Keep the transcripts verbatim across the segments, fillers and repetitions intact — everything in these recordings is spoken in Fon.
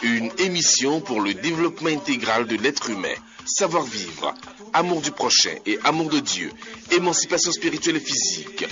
Une émission pour le développement intégral de l'être humain. Savoir-vivre, amour du prochain et amour de Dieu, émancipation spirituelle et physique.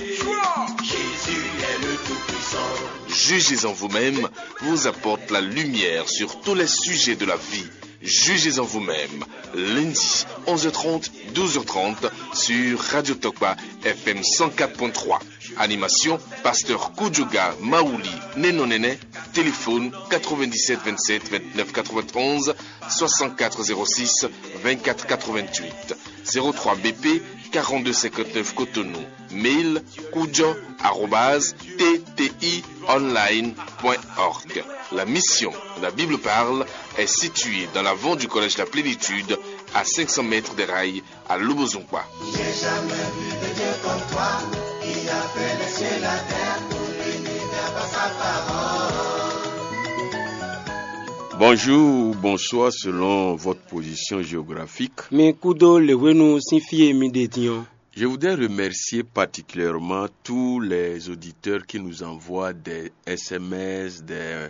Jugez en vous-même vous apporte la lumière sur tous les sujets de la vie. Jugez en vous-même, lundi, onze heures trente, douze heures trente, sur Radio Tokpa F M cent quatre point trois. Animation, pasteur Kudjoga Maouli Nenonene. Téléphone quatre-vingt-dix-sept vingt-sept vingt-neuf quatre-vingt-onze, soixante-quatre zéro six vingt-quatre quatre-vingt-huit, zéro trois B P quarante-deux cinquante-neuf Cotonou. Mail kudjo arobase T T I online point org. La mission, la Bible parle, est située dans l'avant du collège La Plénitude, à cinq cents mètres des rails, à Lobozungba. J'ai jamais vu de Dieu comme toi, qui a fait les cieux et la terre pour l'univers par sa parole. Bonjour ou bonsoir selon votre position géographique. Mi kúdó lěhwénu sín fí e mi ɖe din ɔ́. Je voudrais remercier particulièrement tous les auditeurs qui nous envoient des S M S, des,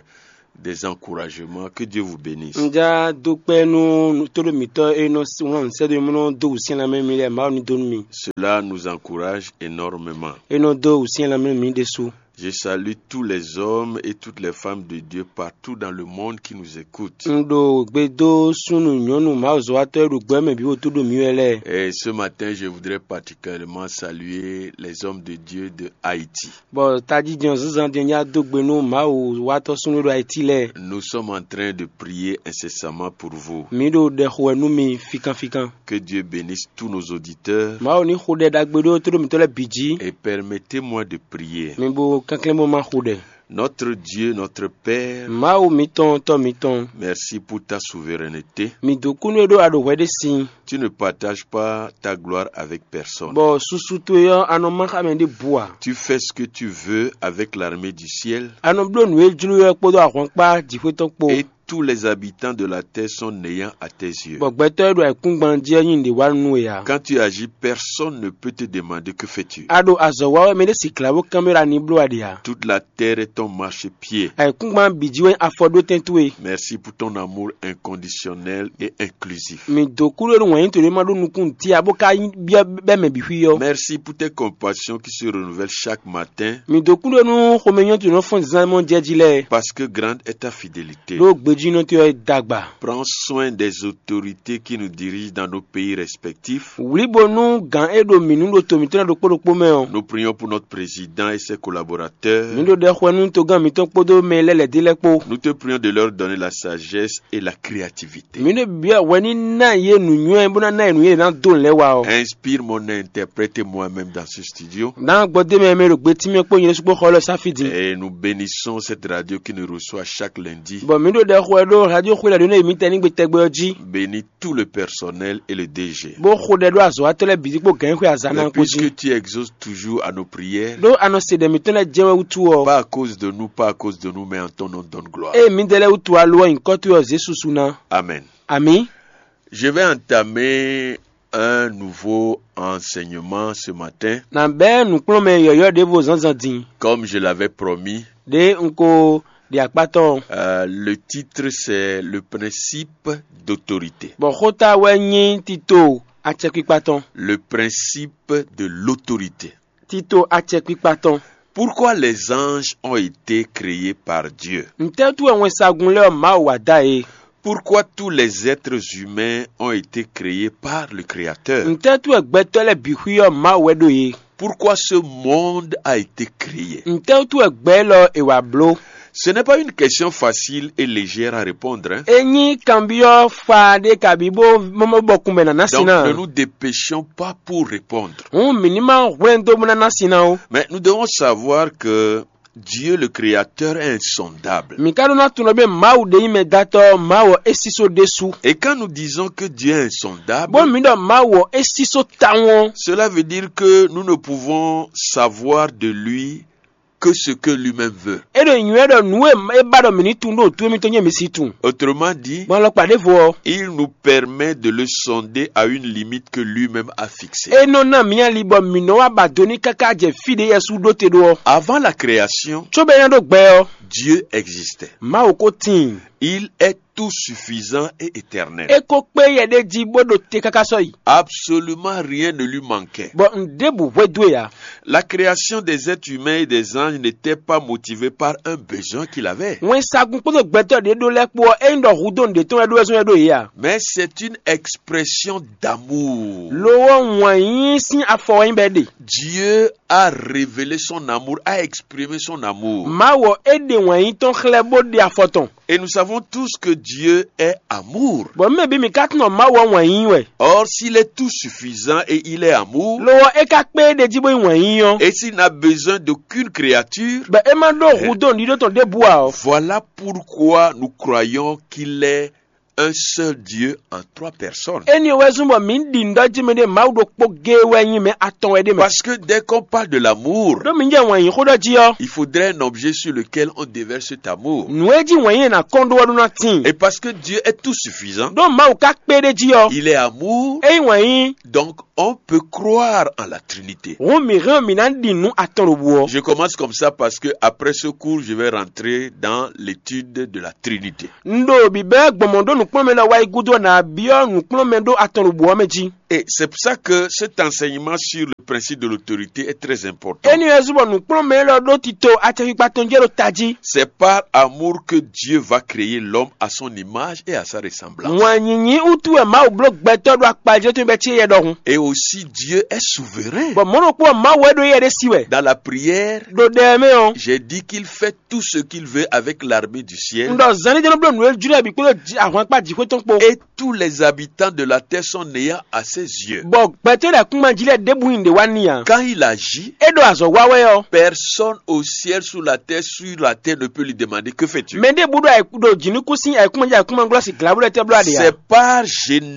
des encouragements. Que Dieu vous bénisse. Un já dó kpɛ́ nú tóɖó mǐtɔn e nɔ wlán nǔ sɛ́ dó mì bó nɔ dó wǔsyɛ́n lanmɛ mì lɛ́ɛ, Mawu ní dó nú mi. Cela nous encourage énormément. É nɔ dó wǔsyɛ́n lanmɛ mì ɖésú. Je salue tous les hommes et toutes les femmes de Dieu partout dans le monde qui nous écoutent. Un ɖo gbe dó súnnu nyɔ̌nu mawuzɔ́watɔ́ e ɖo gbɛ mɛ bǐ wǒ tó ɖo mǐ wɛ lɛ́ɛ. Et ce matin, je voudrais particulièrement saluer les hommes de Dieu de Haïti. Bɔ tají din ɔ́ zínzán din ɔ́, nyá dó gbe nú Mawu wátɔ́ súnnu e ɖo Ayiti lɛ́ɛ. Nous sommes en train de prier incessamment pour vous. Mǐ ɖo ɖɛ xo wɛ nú mi fíkánfíkán. Que Dieu bénisse tous nos auditeurs. Mawu ní xo ɖɛ ɖagbe ɖó tóɖó mǐtɔn lɛ́ɛ bǐ jí. Et permettez-moi de prier. Mi bo kɛnklɛ́n bó má xo ɖɛ. Notre Dieu, notre Père, Mawu mǐtɔn, Tɔ́ mǐtɔn, merci pour ta souveraineté. Mi dǒ kú nú e ɖó a ɖo hwɛ ɖé sin. Tu ne partages pas ta gloire avec personne. Bɔ susu towe ɔ́, a nɔ má xá mɛ ɖěbǔ ǎ. Tu fais ce que tu veux avec l'armée du ciel. A nɔ bló nǔ e jló ɔ́ kpódó ahwankpá jǐxwé tɔn kpó. Et tous les habitants de la terre sont néants à tes yeux. Bɔ gbɛtɔ́ e ɖo ayǐkúngban jí ɔ́ nyi nǔɖé wa nú we ǎ. Quand tu agis, personne ne peut te demander que fais-tu. A ɖo azɔ̌ wa wɛ mɛ ɖé si glǎ bó kanbyɔ́ ɖɔ a ní bló a ɖe ǎ. Toute la terre est ton marchepied. Ayǐkúngban bǐ jí wɛ nyí afɔɖótɛn towe. Merci pour ton amour inconditionnel et inclusif. Mi dǒ kú ɖó nú wǎn yí toɖé ma ɖó nukún ntí ǎ bó ka byɔ́ bɛ́ mɛ bǐ xwí ɔ́. Merci pour tes compassions qui se renouvellent chaque matin. Mi dǒ kú ɖó nú xomɛnyɔ́ towe nɔ fɔ́n zán mɔ jɛ jí lɛ́ɛ. Parce que grande est ta fidélité. Ɖó gbejínɔ towe ɔ́ dagba. Prends soin des autorités qui nous dirigent dans nos pays respectifs. Wlǐbo nú gǎn e ɖo mǐ nu ɖo to mǐtɔn lɛ́ɛ ɖokpó ɖokpó mɛ ɔ́. Nous prions pour notre président et ses collaborateurs. Mǐ ɖo ɖɛ xwɛ nú togán mǐtɔn kpódó mɛ lɛ́ɛ lɛ̌ dé lɛ́ɛ kpó. Nous te prions de leur donner la sagesse et la créativité. Mǐ ɖo byɔ́ hwɛ ní ná yě nǔnywɛ́ bó ná ná yě nǔ yě ná dó lɛ̌ wa ɔ́. Inspire mon interprète et moi-même dans ce studio. Ná gbɔ dé mɛ mɛ ɖo gbetí mɛ kpó nyɛ ɖésú kpó xɔ lɔ sáfi din. Et nous bénissons cette radio qui nous reçoit chaque lundi. Bɔ mǐ ɖo ɖɛ xwɛ ɖó radio xwé lɛ́ɛ ɖó ná yě mǐtɛn ní gbe tɛgbɛ ɔ́ jí. Bénis tout le personnel et le D G. Bó xo ɖɛ ɖó azɔ̌watɔ́ lɛ́ɛ bǐ jí kpó gǎn e xwe azǎn ná kpó jí. Et puisque tu exauces toujours à nos prières, ɖó a nɔ se ɖɛ mǐtɔn lɛ́ɛ jɛ wɛ wútu ɔ́. Pas à cause de nous, pas à cause de nous, mais en ton nom donne gloire. Ée mǐdɛɛ lɛ́ɛ wútu alo ɔ́ nyǐkɔ towe ɔ́ zě susu ná. Amen. Amǐ. Je vais entamer un nouveau enseignement ce matin. Nǎ bɛ́ nǔkplɔ́nmɛ yɔ̌yɔ́ ɖěvo zǎnzǎn din. Comme je l'avais promis, ɖě un ko ɖi akpá tɔn. Euh, le titre, c'est le principe d'autorité. Bɔ xóta wɛ nyí tito acɛkpikpa tɔn. Le principe de l'autorité. Tito acɛkpikpa tɔn. Pourquoi les anges ont été créés par Dieu? Ntɛ́ wútu wɛ wɛnsagun lɛ́ɛ ɔ́ Mawu wa dó ayé? Pourquoi tous les êtres humains ont été créés par le Créateur? Ntɛ́ wútu wɛ gbɛtɔ́ lɛ́ɛ bǐ xwí ɔ́ Mawu wɛ ɖó yě? Pourquoi ce monde a été créé? Ntɛ́ wútu wɛ gbɛ élɔ́ è wǎ bló? Ce n'est pas une question facile et légère à répondre, hein? É nyí kanbyɔ́ fa ɖé kabǐ bó bó bɔkun bɛ ná ná sin Donc, ná. Ne nous dépêchons pas pour répondre. Hǔn mǐ ní má hwlɛ́n dó bó ná ná sin ná ó. Mais nous devons savoir que Dieu le Créateur est insondable. Mǐ ka ɖó ná tunwun ɖɔ bé Mawu ɖé nyí mɛdátɔ́, Mawu ɔ́ é sísó ɖésú. Et quand nous disons que Dieu est insondable, Bó mǐ ɖɔ Mawu ɔ́ é sísó tawun ɔ́, cela veut dire que nous ne pouvons savoir de lui que ce que lui-même veut. É ɖo nywɛ́ ɖɔ nǔ e é ba ɖɔ mǐ ní tunwun ɖo nǔ towe mitɔn nyí mǐ si tunwun. Autrement dit, Gbɔn alɔkpa ɖěvo ɔ́, il nous permet de le sonder à une limite que lui-même a fixée. É nɔ ná mǐ ali bɔ mǐ nɔ wá ba do ní káká jɛ fí ɖě Yɛsu ɖó te ɖó ɔ́. Avant la création, Cóbɔ é ná ɖó gbɛ ɔ́, Dieu existait. Mawu ko tíin. Il est tout suffisant et éternel. É ko kpé yɛ ɖé jí bó ɖo te káká sɔ́yi. Absolument rien ne lui manquait. Bɔ nǔɖébǔ hwedú e ǎ. La création des êtres humains et des anges n'était pas motivée par un besoin qu'il avait. Wɛnsagun kpódó gbɛtɔ́ ɖě ɖó lɛ́ɛ kpó ɔ́, é nyí ɖɔ hudó nǔɖé tɔn wɛ ɖó wɛ zɔ́n wɛ ɖó yě a? Mais c'est une expression d'amour. Lo ɔ́, wǎn yíyí sín afɔ wɛ nyí bɔ é ɖe. Dieu a révélé son amour, a exprimé son amour. Mawu ɔ́, é ɖe wǎn yíyí tɔn xlɛ́ bó ɖe afɔ tɔn. Et nous savons tous que Dieu est amour. Bɔ mɛ bí mi ka tunɔ Mawu ɔ́ wǎn yíyí wɛ. Or, s'il est tout suffisant et il est amour, Lo ɔ́, é ka kpé é ɖe jí bó nyí wǎn yíyí ɔ́. Et s'il n'a besoin d'aucune créature, Bɔ é má ɖó hudó nǔɖíɖó tɔn ɖěbǔ ǎ ɔ́. Voilà pourquoi nous croyons qu'il est un seul Dieu en trois personnes. Éni ɔ́ wɛ zɔ́n bɔ mǐ ɖi nǔ ɖɔ jí mɛ ɖé Mawu ɖokpó géé wɛ nyí mɛ atɔn wɛ ɖé mɛ. Parce que dès qu'on parle de l'amour, Ɖó mǐ jɛ wǎn yí xó ɖɔ jí ɔ́. Il faudrait un objet sur lequel on déverse cet amour. Nǔ e jí wǎn yí è nǎ kɔn ɖó ɔ́ ɖó ná tíin. Et parce que Dieu est tout suffisant, Ɖó Mawu ka kpé ɖé jí ɔ́. Il est amour, É nyí wǎn yí. Donc on peut croire en la Trinité. Hǔn mǐ hɛn ɔ́ mǐ ná ɖi nǔ atɔn ɖo bǔ ɔ́. Je commence comme ça parce que après ce cours, je vais rentrer dans l'étude de la Trinité. Un ɖo bǐbɛ́ gbɔn mɔ̌ ɖó nǔkplɔ́nmɛ lɛ́ɛ wá yi gúdo ɔ́, nǎ byɔ́ nǔkplɔ́nmɛ ɖó atɔn ɖo bǔ ɔ́ mɛ jí. Et c'est pour ça que cet enseignement sur le principe de l'autorité est très important. Éni wɛ zú bɔ nǔkplɔ́nmɛ élɔ́ ɖó tito acɛkpikpa tɔn jɛ ɖo tají. C'est par amour que Dieu va créer l'homme à son image et à sa ressemblance. Wǎn nyinyi wútu wɛ Mawu bló gbɛtɔ́ ɖo akpajlɛ́ tɔn bɛ́ cí yɛ ɖɔhun. Et aussi Dieu est souverain. Bɔ mɔ̌ ɖokpó ɔ́, Mawu wɛ ɖo yɛ ɖé sí wɛ. Dans la prière, Ɖo ɖɛ ɛ mɛ ɔ́, j'ai dit qu'il fait tout ce qu'il veut avec l'armée du ciel. Un ɖɔ zan ní jɛ́n nɔ bló nǔ e jló wɛ bǐ kpódó ji- ahwankpá jǐxwé tɔn kpó. Et tous les habitants de la terre sont néants à ses yeux. Bɔ gbɛtɔ́ ɖo ayǐkúngban jí lɛ́ɛ ɖěbǔ nyi ɖě wá n'i ǎ. Quand il agit, É ɖo azɔ̌ wa wɛ ɔ́, personne au ciel, sous la terre, sur la terre ne peut lui demander que fais-tu. Mɛ ɖěbǔ ɖo ayǐ- ɖo jǐnukúnsin ayǐkúngban jí ayǐkúngban glɔ́ sin glǎbú lɛ́ɛ tɛ́ bló aɖě ǎ. C'est par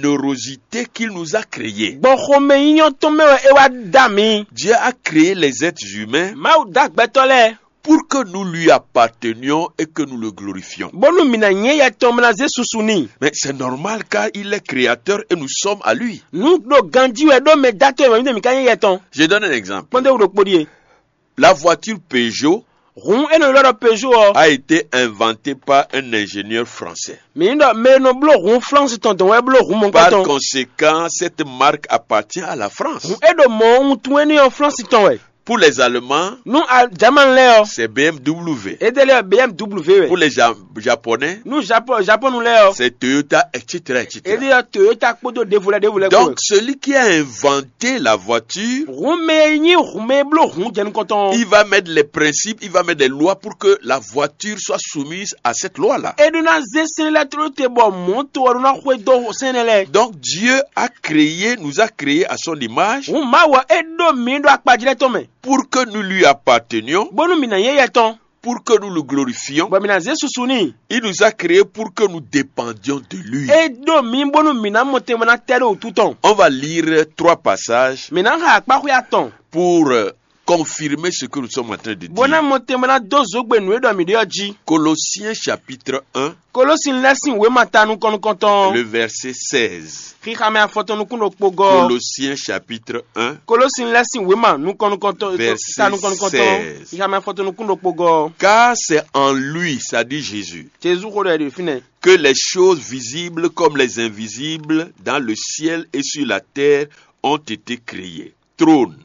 générosité qu'il nous a créés. Gbɔn xomɛ nyínyɔ́ tɔn mɛ wɛ é wá dá mǐ. Dieu a créé les êtres humains Mawu dá gbɛtɔ́ lɛ́ɛ pour que nous lui appartenions et que nous le glorifions. Bónú mǐ ná nyɛ yɛ tɔn mɛ ná zé susu n'i. Mais c'est normal car il est créateur et nous sommes à lui. Nǔ ɖo ganjí wɛ ɖó mɛ dátɔ́ e mǐ ɖo mǐ ka nyɛ yɛ tɔn. Je donne un exemple. Kpɔ́ndé wú ɖokpó ɖíe. La voiture Peugeot Hǔn é nɔ ylɔ́ ɖɔ Peugeot ɔ́. a été inventée par un ingénieur français. Mǐ ɖɔ mɛ e nɔ bló hǔn Flánsi tɔn dɔn wɛ bló hǔn mɔ̌kpán Par tɔn. Conséquent, cette marque appartient à la France. Hǔn é ɖo mɔ ohun tún énɛ́ ɔ́ Flánsi tɔn wɛ. Pour les Allemands, Nú a- Jamani lɛ́ɛ ɔ́, c'est B M W. édélé ɔ́ B M W wɛ. Pour les Ja- Japonais, Nú Japon Japon lɛ́ɛ ɔ́, c'est Toyota, et cetera, et cetera. édélé ɔ́ Toyota kpódó ɖěvo lɛ́ɛ ɖěvo lɛ́ɛ kpó Donc, wɛ. Celui qui a inventé la voiture, Hǔn mɛ e nyí hǔn mɛ e bló hǔn jɛ nukɔn tɔn ɔ́. Il va mettre les principes, il va mettre les lois pour que la voiture soit soumise à cette loi-là. É ɖó ná zé sɛ́n lɛ́ɛ tló te bɔ mɔ̌to ɔ́ ɖó ná xwedó sɛ́n lɛ́ɛ. Donc Dieu a créé, nous a créés à son image Hǔn Mawu ɔ́, é ɖó mǐ ɖo akpajlɛ́ tɔn mɛ. Pour que nous lui appartenions, Bónú mǐ ná nyɛ yɛ tɔn. Pour que nous le glorifions. Bɔ mǐ ná zé susu n'i. Il nous a créés pour que nous dépendions de lui. É ɖó mǐ bónú mǐ ná mɔ tɛnmɛ ná tɛ ɖo wǔtu tɔn. On va lire trois passages Mǐ ná xa akpáxwé atɔn. Pour euh, confirmer ce que nous sommes en train de Bó ná dire. Mɔ tɛnmɛ ná dó zǒgbe nǔ e ɖɔ mǐ ɖe ɔ́ jí. Colossiens chapitre un, Kolósin lɛ́ sín wěma ta nukɔn nukɔntɔn. Le verset seize. Xixamɛ afɔtɔn nukún ɖokpó gɔ́. Colossiens chapitre un, Kolósin lɛ́ sín wěma nukɔn nukɔntɔn. Verset Ta nukɔn nukɔntɔn. seize. Xixamɛ afɔtɔn nukún ɖokpó gɔ́. Car c'est en lui, ça dit Jésus, Jezu xó ɖɔ ɛ ɖe fínɛ́. Que les choses visibles comme les invisibles dans le ciel et sur la terre ont été créées. Trône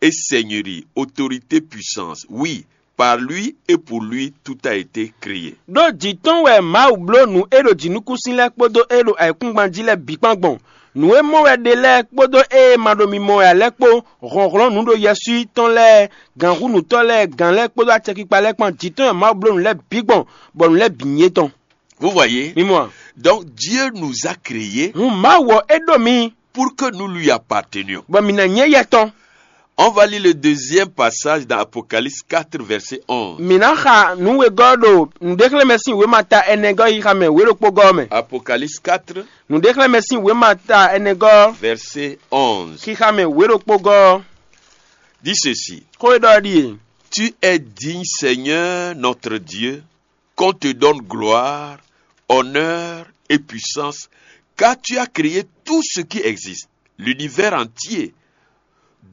et seigneurie, autorité, puissance. Oui, par lui et pour lui, tout a été créé. Ɖó jǐ tɔn wɛ Mawu bló nǔ e ɖo jǐnukúnsin lɛ́ɛ kpódó e ɖo ayǐkúngban jí lɛ́ɛ bǐ kpán gbɔn. Nǔ e mɔ wɛ ɖe lɛ́ɛ kpódó e ma ɖo mimɔ wɛ ǎ lɛ́ɛ kpó, hlɔ̌nhlɔ́n nǔ ɖo yɛswíyítɔ́n lɛ́ɛ, gǎnhúnǔtɔ́ lɛ́ɛ, gǎn lɛ́ɛ kpódó acɛkpikpa lɛ́ɛ kpán jǐ tɔn wɛ Mawu bló nǔ lɛ́ɛ bǐ gbɔn, bɔ nǔ lɛ́ɛ bǐ nyí étɔn. Vous voyez? Mi mɔ a? Donc Dieu nous a créés Hǔn Mawu ɔ́, é ɖo mi. Pour que nous lui appartenions. Bɔ mǐ ná nyɛ yɛ tɔn. On va lire le deuxième passage dans Apocalypse quatre, verset onze. Mǐ ná xa nǔ wegɔ́ ɖo nǔɖéxlɛ́mɛ sín wěma ta ɛnɛ gɔ́ xixa mɛ wě ɖokpó gɔ́ ɔ́ mɛ. Apocalypse quatre, Nǔɖéxlɛ́mɛ sín wěma ta ɛnɛ gɔ́ verset onze. Xixa mɛ wě ɖokpó gɔ́ ɔ́. Dit ceci. Xó e ɖɔ ɔ́ ɖíe. Tu es digne, Seigneur notre Dieu, qu'on te donne gloire, honneur et puissance, car tu as créé tout ce qui existe. L'univers entier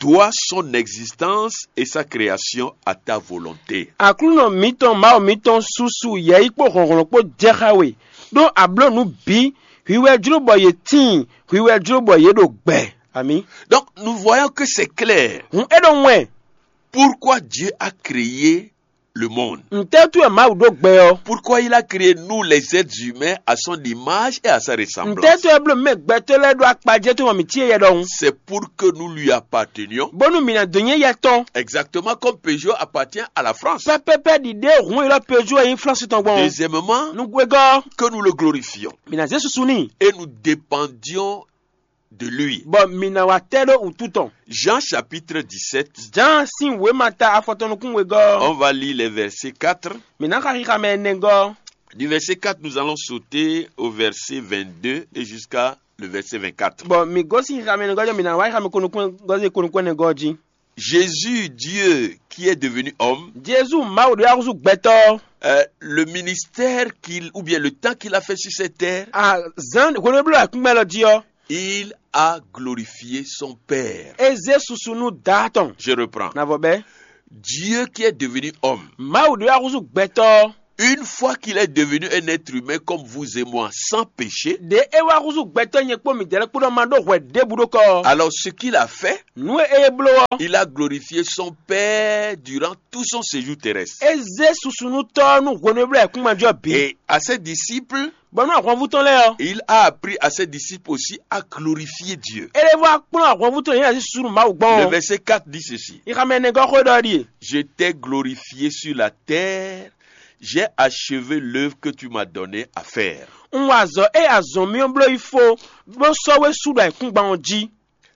doit son existence et sa création à ta volonté. Aklúnɔ mǐtɔn Mawu mǐtɔn susu yɛ̌yi kpó hlɔ̌nhlɔ́n kpó jɛ xá we, ɖó a blǒ nǔ bǐ, hwi wɛ jló bɔ yě tíin, hwi wɛ jló bɔ yě ɖo gbɛ. Amǐ. Donc, nous voyons que c'est clair. Hǔn é ɖo wɛn. Pourquoi Dieu a créé le monde? Ntɛ́ wɛ Mawu ɖó gbɛ ɔ́? Pourquoi il a créé nous les êtres humains à son image et à sa ressemblance? Ntɛ́ wɛ bló mɛ gbɛtɔ́ lɛ́ɛ ɖó akpajɛ tó mɔ mǐ cí yɛ ɖɔhun. C'est pour que nous lui appartenions. Bónú mǐ ná dó nyɛ yɛ tɔn. Exactement comme Peugeot appartient à la France. Pɛpɛpɛ ɖiɖe hun ylɔ́ Peugeot e nyí Flánsi tɔn gbɔn. Deuxièmement, nugwegɔ́, que nous le glorifions. Mǐ ná zé susu n'i. Et nous dépendions de lui. Bɔ mǐ ná wá tɛ́ ɖó wǔtu tɔn. Jean chapitre dix-sept. Jǎan sín wěma ta afɔtɔn nukún wegɔ́. On va lire les versets quatre. Mǐ ná xa xixa mɛ ɛnɛgɔ́. Du verset quatre, nous allons sauter au verset vingt-deux et jusqu'à le verset vingt-quatre. Bɔ mǐ gosín xixa mɛ ɛnɛgɔ́ jɔ mǐ ná wá xixa mɛ konukún gɔ́zé konukún ɛnɛgɔ́ jí. Jésus, Dieu qui est devenu homme, Jezu Mawu ɖé axúsú gbɛtɔ́. Euh, le ministère qu'il, ou bien le temps qu'il a fait sur cette terre, A zan hwenu e bló akúngbɛ́ lɔ jí ɔ́, il a glorifié son Père. É zé susu nú Daá tɔn. Je reprends. Navɔ bɛ́. Dieu qui est devenu homme, Mawu ɖé axúsú gbɛtɔ́. Une fois qu'il est devenu un être humain comme vous et moi, sans péché, Ɖě é wá húzú gbɛtɔ́ nyɛ kpó midɛɛ lɛ́ɛ kpó ɖɔ ma ɖó hwɛ ɖěbǔ ɖó kɔ ɔ́, alors ce qu'il a fait, nǔ e é bló ɔ́, Il a glorifié son Père durant tout son séjour terrestre. É zé susu nú Tɔ́ ɔ́ nú hwenu e bló ayǐkúngban jí ɔ́ bǐ. Et à ses disciples, Bɔ nú ahwanvú tɔn lɛ́ɛ ɔ́, Il a appris à ses disciples aussi à glorifier Dieu. É lɛ́ vɔ wá kplɔ́n ahwanvú tɔn nyɛ ná zí susu nú Mawu gbɔn Le ɔ́. Verset quatre dit ceci. Ixamɛ ɛnɛgɔ́ xó ɖɔ ɖíe: Je t'ai glorifié sur la terre, j'ai achevé l'œuvre que tu m'as donnée à faire. Un wa azɔ̌ e azɔ̌ mì ɔ́ bló yi fó, bó sɔ́ we sú ɖo ayǐkúngban ɔ́ jí.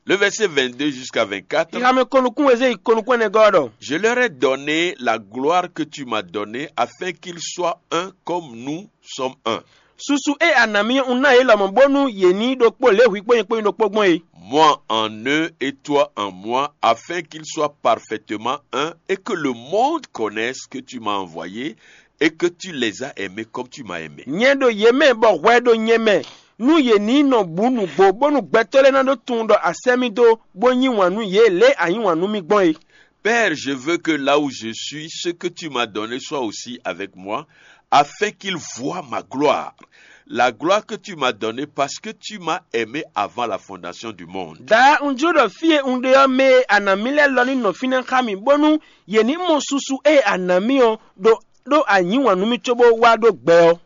Le verset vingt-deux jusqu'à vingt-quatre. Ixamɛ konukún e zé yi konukún ɛnɛgɔ́ ɔ́ ɖɔ: Je leur ai donné la gloire que tu m'as donnée, afin qu'ils soient un comme nous sommes un. Susu e a ná mì ɔ́, un ná yě lɔmɔ̌ bónú yě ní ɖokpó lě hwi kpó nyɛ kpó nyí ɖokpó gbɔn é. Moi en eux et toi en moi, afin qu'ils soient parfaitement un, et que le monde connaisse que tu m'as envoyé et que tu les as aimés comme tu m'as aimé. Nyɛ ɖo yě mɛ bɔ hwɛ ɖo nyɛ mɛ, nú yě ní nɔ bǔ nǔgbó, bónú gbɛtɔ́ lɛ́ɛ ná ɖó tunwun ɖɔ a sɛ́ mì dó, bó yí wǎn nú yě lě e a yí wǎn nú mì gbɔn é. Père, je veux que là où je suis, ce que tu m'as donné soit aussi avec moi, afin qu'ils voient ma gloire. La gloire que tu m'as donnée parce que tu m'as aimé avant la fondation du monde. Daá un jló ɖɔ fí e un ɖe ɔ́ mɛ e a nǎ mì lɛ́ɛ lɔ ní nɔ fínɛ́ xá mì, bónú yě ní mɔ susu e a nǎ mì ɔ́ ɖo ɖó a yǐ wǎn nú mì cóbó wá ɖó gbɛ ɔ́.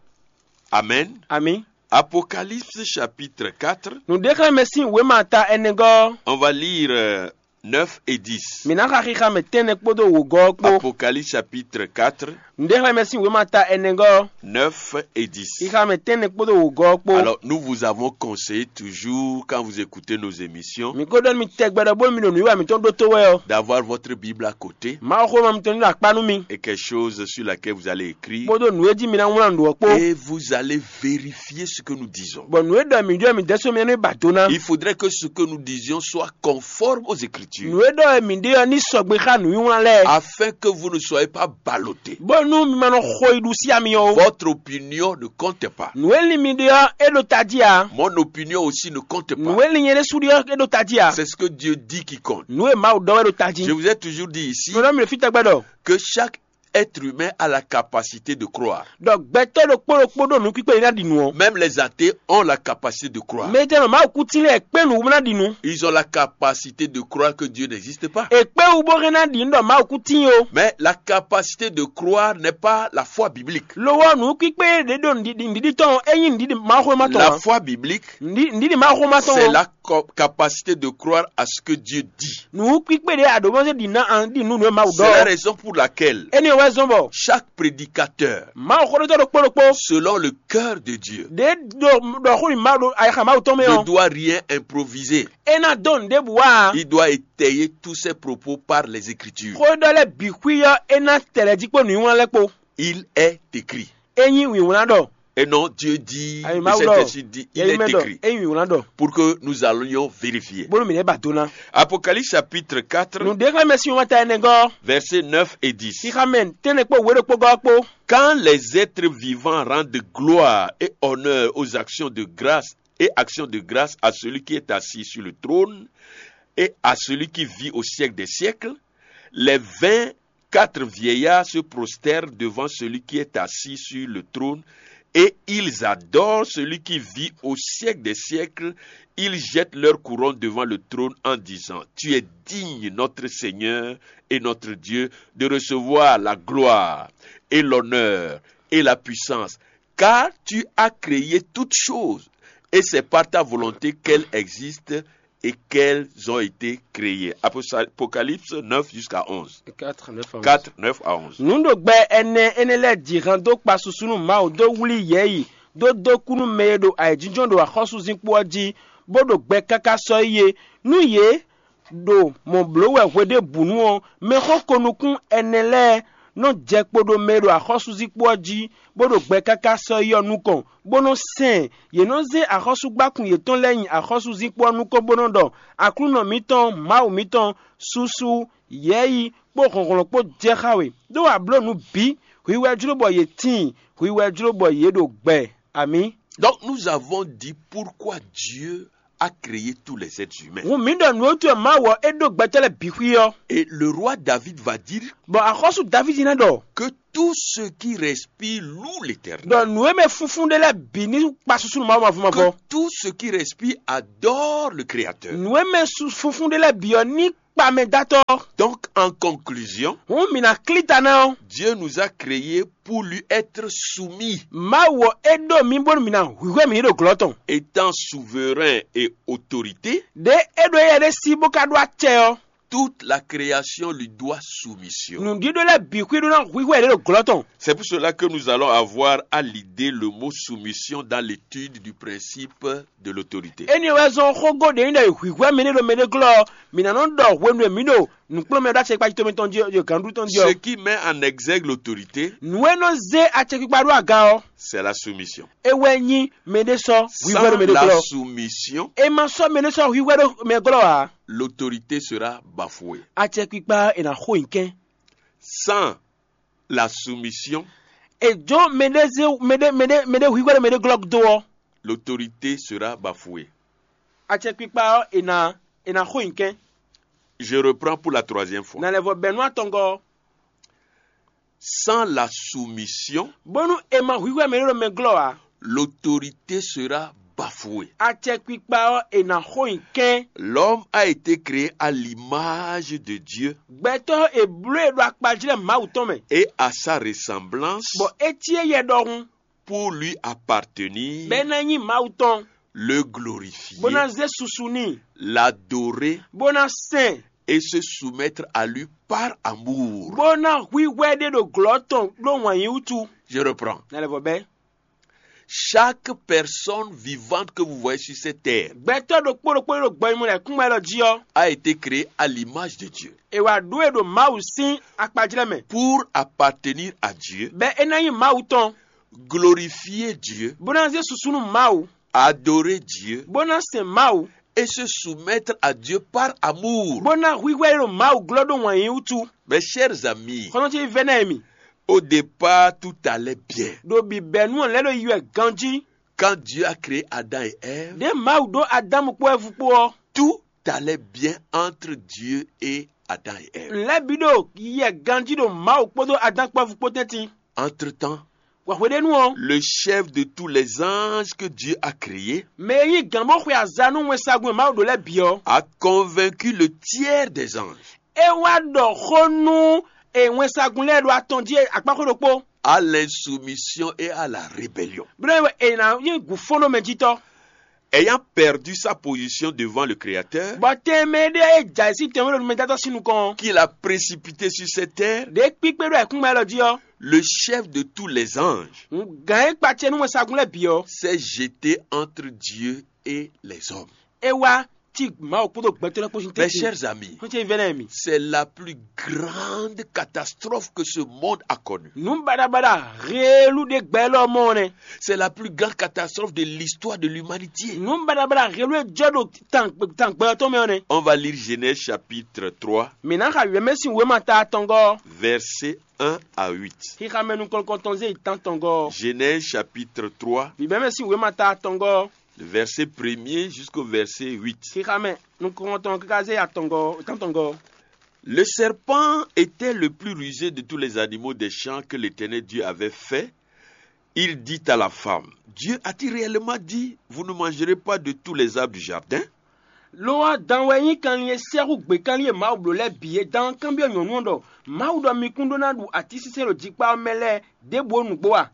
Amen. Amǐ. Apocalypse chapitre quatre. Nǔɖéxlɛ́mɛ sín wěma ta ɛnɛgɔ́ ɔ́. On va lire euh, neuf et dix. Mǐ ná xa xixa mɛ tɛ́nnɛ kpódó wǒgɔ́ ɔ́ kpó. Apocalypse chapitre quatre, Nǔɖéxlɛ́mɛ sín wěma ta ɛnɛgɔ́ ɔ́. Neuf et dix. Xixa mɛ tɛ́nnɛ kpódó wǒgɔ́ ɔ́ kpó. Alors, nous vous avons conseillé toujours, quand vous écoutez nos émissions, Mǐ ko ɖɔ nú mi tɛgbɛ ɖɔ bónú mi ɖo nǔwiwa mǐtɔn ɖótó wɛ ɔ́, d'avoir votre Bible à côté Mawuxówéma mitɔn ní ɖo akpá nú mi, et quelque chose sur laquelle vous allez écrire. Kpódó nǔ e jí mi ná wlán nǔ ɔ́ kpó. Et vous allez vérifier ce que nous disons. Bɔ nǔ e ɖɔ mǐ ɖɔ mǐ dɛ́ sɔ́ mì ɔ́ ní ba do ná. Il faudrait que ce que nous disions soit conforme aux Écritures. Nǔ e ɖɔ mǐ ɖe ɔ́ ní sɔgbe xá nǔwiwlán lɛ́ɛ. Afin que vous ne soyez pas ballottés. Bónú mi ma nɔ xo yi ɖu sí ami ɔ́ ó. Votre opinion ne compte pas. Nǔ e lin mi ɖe ɔ́, é ɖo tají ǎ. Mon opinion aussi ne compte pas. Nǔ e lin nyɛ ɖésú ɖe ɔ́, é ɖo tají ǎ. C'est ce que Dieu dit qui compte. Nǔ e Mawu ɖɔ wɛ ɖo tají. Je vous ai toujours dit ici Nǔ ɖɔ mi ɖo fí tɛgbɛ ɖɔ. Que chaque être humain a la capacité de croire. Ɖɔ gbɛtɔ́ ɖokpó ɖokpó ɖo nǔkpíkpé yi ná ɖi nǔ ɔ́. Même les athées ont la capacité de croire. Mɛ tɛnɔ Mawu kú tín lɛ́ɛ kpé nǔ wú ná ɖi nǔ. Ils ont la capacité de croire que Dieu n'existe pas. È kpé wú bó hɛn ná ɖi nǔ ɖɔ Mawu kú tín ó. Mais la capacité de croire n'est pas la foi biblique. Lo ɔ́, nǔkpíkpé ɖě ɖo nǔɖiɖi tɔn ɔ́, é nyí nǔɖiɖi Mawuxówéma tɔn. La foi biblique, nǔɖiɖi Mawuxówéma tɔn c'est la co- capacité de croire à ce que Dieu dit. Nǔkpíkpé ɖě a ɖǒ mɔ sɛ́ ɖi ná an ɖi nú nǔ e Mawu ɖɔ. C'est la raison pour laquelle Énɛ́ wɛ zɔ́n bɔ chaque prédicateur, Mawu xóɖótɔ́ ɖokpó ɖokpó selon le cœur de Dieu, ɖě ɖo ɖɔ xó nyi Mawu ɖo ayixa Mawu tɔn mɛ ne ɔ́, doit rien improviser. É ná dó nǔ ɖěbǔ wá ǎ. Il doit étayer tous ses propos par les Écritures. Xó e ɖɔ lɛ́ɛ bǐ xwí ɔ́, é ná tɛ lɛ́ jí kpó nǔnywɛ́ lɛ́ɛ kpó. Il est écrit. É nyí wǐwlán ɖɔ. Et non, Dieu dit, Ayi, le Mawu ɖɔ, Saint-Esprit dit, il est écrit, éyí wlán ɖɔ, pour que nous allions vérifier. Bónú mǐ lɛ́ ba do ná. Apocalypse chapitre quatre, Nǔɖéxlɛ́mɛ sín wɛnta ɛnɛ gɔ́, versets neuf et dix. Xixamɛ tɛ́nnɛ kpó wěɖokpó gɔ́ kpó. Quand les êtres vivants rendent gloire et honneur aux actions de grâce et actions de grâce à celui qui est assis sur le trône et à celui qui vit au siècle des siècles, les vingt quatre vieillards se prosternent devant celui qui est assis sur le trône et ils adorent celui qui vit au siècle des siècles. Ils jettent leur couronne devant le trône en disant, tu es digne, notre Seigneur et notre Dieu, de recevoir la gloire et l'honneur et la puissance, car tu as créé toutes choses, et c'est par ta volonté qu'elles existent et qu'elles ont été créées. Apocalypse neuf jusqu'à onze. Quatre, neuf à onze. Quatre, neuf à onze. Nǔ ɖo gbɛ ɛnɛ énɛ́ lɛ́ɛ ji han dó kpa susu nú Mawu dó wlí yɛ̌yi, dó dó kú nú mɛ e ɖo ayǐjínjɔ́n ɖo axɔ́súzinkpo ɔ́ jí, bó ɖo gbɛ káká sɔ́ yi é. Nú yě ɖo mɔ̌ bló wɛ hweɖěbǔnu ɔ́, mɛxó ko nukún ɛnɛ lɛ́ɛ nɔ jɛ kpo ɖo mɛ e ɖo axɔ́súzinkpo ɔ́ jí, bó ɖo gbɛ káká sɔ́ yi ɔ́ nukɔn, bó nɔ́ sɛn ɛ. Yě nɔ́ zé axɔ́súgbákún yětɔn lɛ́ɛ nyi axɔ́súzinkpo ɔ́ nukɔn bó nɔ́ ɖɔ: Aklúnɔ mǐtɔn, Mawu mǐtɔn, susu, yɛ̌yi kpó hlɔ̌nhlɔ́n kpó jɛ xá we, ɖó a blǒ nǔ bǐ. Hwi wɛ jló bɔ yě tíin, hwi wɛ jló bɔ yě ɖo gbɛ. Amǐ. Donc nous avons dit pourquoi Dieu a créé tous les êtres humains. Hǔn mǐ ɖɔ nǔ e wútu wɛ Mawu ɔ́ é ɖó gbɛtɔ́ lɛ́ɛ bǐ xwí ɔ́. Et le roi David va dire, Bɔ axɔ́sú Davídi ná ɖɔ, que tout ce qui respire loue l'Éternel. Ɖɔ nǔ e mɛ funfun ɖé lɛ́ɛ bǐ ní kpa susu nú Mawu mavɔ mavɔ. Que tout ce qui respire adore le Créateur. Nǔ e mɛ su- funfun ɖé lɛ́ɛ bǐ ɔ́ ní kpa mɛ dó atɔ. Donc, en conclusion, Hǔn mǐ ná klí ta ná ɔ́. Dieu nous a créés pour lui être soumis. Mawu ɔ́ é ɖó mǐ bónú mǐ ná hwíhwɛ́ mǐ ɖo glɔ́ tɔn. Étant souverain et autorité, Ɖě é ɖo éyɛ́ ɖé sí bó ka ɖó acɛ ɔ́, toute la création lui doit soumission. Nǔɖíɖó lɛ́ɛ bǐ xwí ɖó ná hwíhwɛ́ yě ɖo glɔ́ tɔn. C'est pour cela que nous allons avoir à l'idée le mot soumission dans l'étude du principe de l'autorité. Énɛ́ wɛ zɔ́n xógó ɖě nyí ɖɔ è hwǐhwɛ́ mɛ ɖé ɖo mɛ ɖé glɔ́ ɔ́, mǐ ná nɔ ɖɔ hwenu e mǐ ɖo nǔkplɔ́nmɛ ɖó acɛkpikpa tɔn mǐtɔn jí ɔ́, ɖo gǎnɖú tɔn jí ɔ́. Ce qui met en exergue l'autorité, Nǔ e nɔ zé acɛkpikpa ɖó aga ɔ́, c'est la soumission. É wɛ nyí mɛ ɖé sɔ́ hwíhwɛ́ ɖo mɛ ɖé glɔ́. Sans la soumission, E ma sɔ́ mɛ ɖé sɔ́ hwíhwɛ́ ɖo mɛ glɔ́ ǎ. L'autorité sera bafouée. Acɛkpikpa ɔ́ è nǎ xo nyi kɛ́n. Sans la soumission, E jó mɛ ɖé zé mɛ ɖé mɛ ɖé mɛ ɖé hwíhwɛ́ ɖo mɛ ɖé glɔ́ dó ɔ́, l'autorité sera bafouée. Acɛkpikpa ɔ́ è nǎ è nǎ xo nyi kɛ́n. Je reprends pour la troisième fois. Nǎ lɛ́ vɔ bɛ̌ nú atɔngɔ́ ɔ́. Sans la soumission, Bónú è ma hwíhwɛ́ mɛ ɖé ɖo mɛ glɔ́ ǎ, l'autorité sera bafouée. Acɛkpikpa ɔ́ è nǎ xo nyi kɛ́n. L'homme a été créé à l'image de Dieu. Gbɛtɔ́ è bló e ɖo akpajlɛ́ Mawu tɔn mɛ, Et à sa ressemblance, bɔ é cí éyɛ́ ɖɔhun, pour lui appartenir, bɔ é ná nyí Mawu tɔn, le glorifier, bó ná zé susu n'i, l'adorer, bó ná sɛn, et se soumettre à lui par amour. Bó ná hwíhwɛ́ ɖé ɖo glɔ̌ tɔn ɖó wǎn yí wútu. Je reprends. Ná lɛ́ vɔ bɛ́. Chaque personne vivante que vous voyez sur cette terre Gbɛtɔ́ ɖokpó ɖokpó ɖo gbɔnyimɔ lɛ́ kún mɛ lɔ jí ɔ́, a été créée à l'image de Dieu. È wǎ ɖó e ɖo Mawu sín akpajlɛ́ mɛ, Pour appartenir à Dieu, bɔ é ná nyí Mawu tɔn, glorifier Dieu, bó ná zé susu nú Mawu, adorer Dieu, bó ná sɛn Mawu, et se soumettre à Dieu par amour. Bó ná hwíhwɛ́ ɖo Mawu glɔ́ ɖó wǎn yí wútu. Mes chers amis, Xɔ́ntɔn ce vɛ́ ná e mi. Au départ, tout allait bien. Ɖo bǐbɛ́nu ɔ́ lɛ́ ɖo yi wɛ ganjí. Quand Dieu a créé Adam et Ève, Ɖě Mawu ɖó Adámu kpó Ɛvu kpó ɔ́, Tout allait bien entre Dieu et Adam et Ève. Nǔ lɛ́ɛ bǐ ɖo yɛ ganjí ɖo Mawu kpódó Adán kpó Ɛvu kpó tɛ́ntin. Entre-temps, Wǎ hweɖénu ɔ́, le chef de tous les anges que Dieu a créés mɛ e nyí gǎn bó xwe aza nú wɛnsagun e Mawu ɖó lɛ́ɛ bǐ ɔ́, a convaincu le tiers des anges é wá ɖɔ xó nú e wɛnsagun lɛ́ɛ ɖo atɔn jí akpáxwé ɖokpó, à l'insoumission et à la rébellion. Bó nɔ́ nyí wɛ è nǎ nyí gǔfɔ́nɖómɛjítɔ́. Ayant perdu sa position devant le Créateur, Bɔ tɛnmɛ ɖé e jɛ ayǐ sín tɛnmɛ ɖo numɛdátɔ́ sín nukɔn ɔ́, qu'il a précipité sur cette terre, ɖě kpíkpé ɖo ayǐkúngban élɔ́ jí ɔ́, le chef de tous les anges gǎn e kpa acɛ nú wɛnsagun lɛ́ɛ bǐ ɔ́, s'est jeté entre Dieu et les hommes. É wá Tí Mawu kpódó gbɛtɔ́ lɛ́ɛ kpó sín Mes tɛ́ntin. Chers amis, Xwé ce vɛ́ nɛ́ mi. C'est la plus grande catastrophe que ce monde a connue. Nǔ baɖabaɖa heelú ɖé gbɛ élɔ́ mɔ ɔ́ nɛ́. C'est la plus grande catastrophe de l'histoire de l'humanité. Nǔ baɖabaɖa heelú e jɔ ɖo tan tan gbɛ ɔ́ tɔn mɛ ɔ́ nɛ́. On va lire Genèse chapitre trois, Mǐ ná xa Yɔ̌mɛ́sin wěma ta atɔngɔ́ ɔ́, verset un à huit. Xixa mɛ nukɔn tɔn zé yi tán tɔngɔ́ ɔ́. Genèse chapitre trois, Vǐvɛ́mɛsin wěma ta atɔngɔ́ ɔ́, le verset premier jusqu'au verset huit. Xixa mɛ nukɔn tɔn káká zé yi atɔngɔ́ ɔ́, tán tɔngɔ́ ɔ́. Le serpent était le plus rusé de tous les animaux des champs que l'Éternel Dieu avait fait. Il dit à la femme, Dieu a-t-il réellement dit, vous ne mangerez pas de tous les arbres du jardin? Lo ɔ́, dan wɛ nyí kanlin e sɛ́xú gběkanlin e Mawu bló lɛ́ɛ bǐ é. Dan ɔ́ kanbyɔ́ nyɔ̌nu ɔ́ ɖɔ: Mawu ɖɔ mi kún ɖó ná ɖu atínsínsɛ́n ɖo jikpá ɔ́ mɛ lɛ́ɛ ɖěbǔ ó nǔgbó a?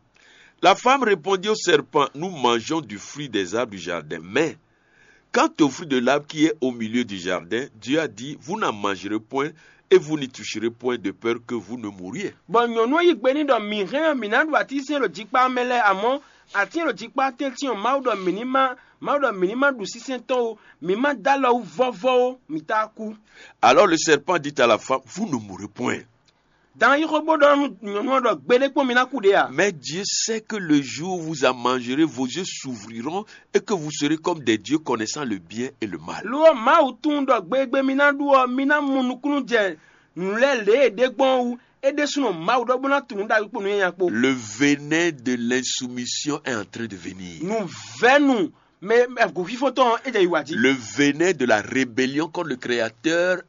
La femme répondit au serpent, nous mangeons du fruit des arbres du jardin, mais quant au fruit de l'arbre qui est au milieu du jardin, Dieu a dit, vous n'en mangerez point et vous n'y toucherez point de peur que vous ne mouriez. Bɔ nyɔ̌nu ɔ́ yí gbe n'i ɖɔ: Mǐ hɛn ɔ́, mǐ ná ɖu atínsínsɛ́n ɖo jikpá ɔ́ mɛ lɛ́ɛ, amɔ̌ atín e ɖo jikpá tɛ́ntin ɔ́, Mawu ɖɔ mǐ ní má Mawu ɖɔ mǐ ní má ɖu sínsɛ́n tɔn ó, mǐ má dó alɔ wú vɔ́vɔ́ ó, mǐ tá kú. Alors le serpent dit à la femme, vous ne mourrez point. Dan yí xó bó ɖɔ nú nyɔ̌nu ɔ́ ɖɔ: Gbeɖé kpɔ́n mi ná kú ɖě a? Mais Dieu sait que le jour où vous en mangerez, vos yeux s'ouvriront et que vous serez comme des dieux connaissant le bien et le mal. Lo ɔ́, Mawu tunwun ɖɔ gbegbe mi ná ɖu ɔ́, mi ná mɔ nukúnnú jɛ nǔ lɛ́ɛ lě e ɖe gbɔn ɔ́ wú. É ɖésúnɔ Mawu ɖɔ bó ná tunwun nú ɖagbe kpó nǔnywɛ́nya kpó. Le venin de l'insoumission est en train de venir. Nǔvɛ́nu mɛ gǔfífó tɔn ɔ́, é jɛ yi wǎ jí. Le venin de la rébellion contre le Créateur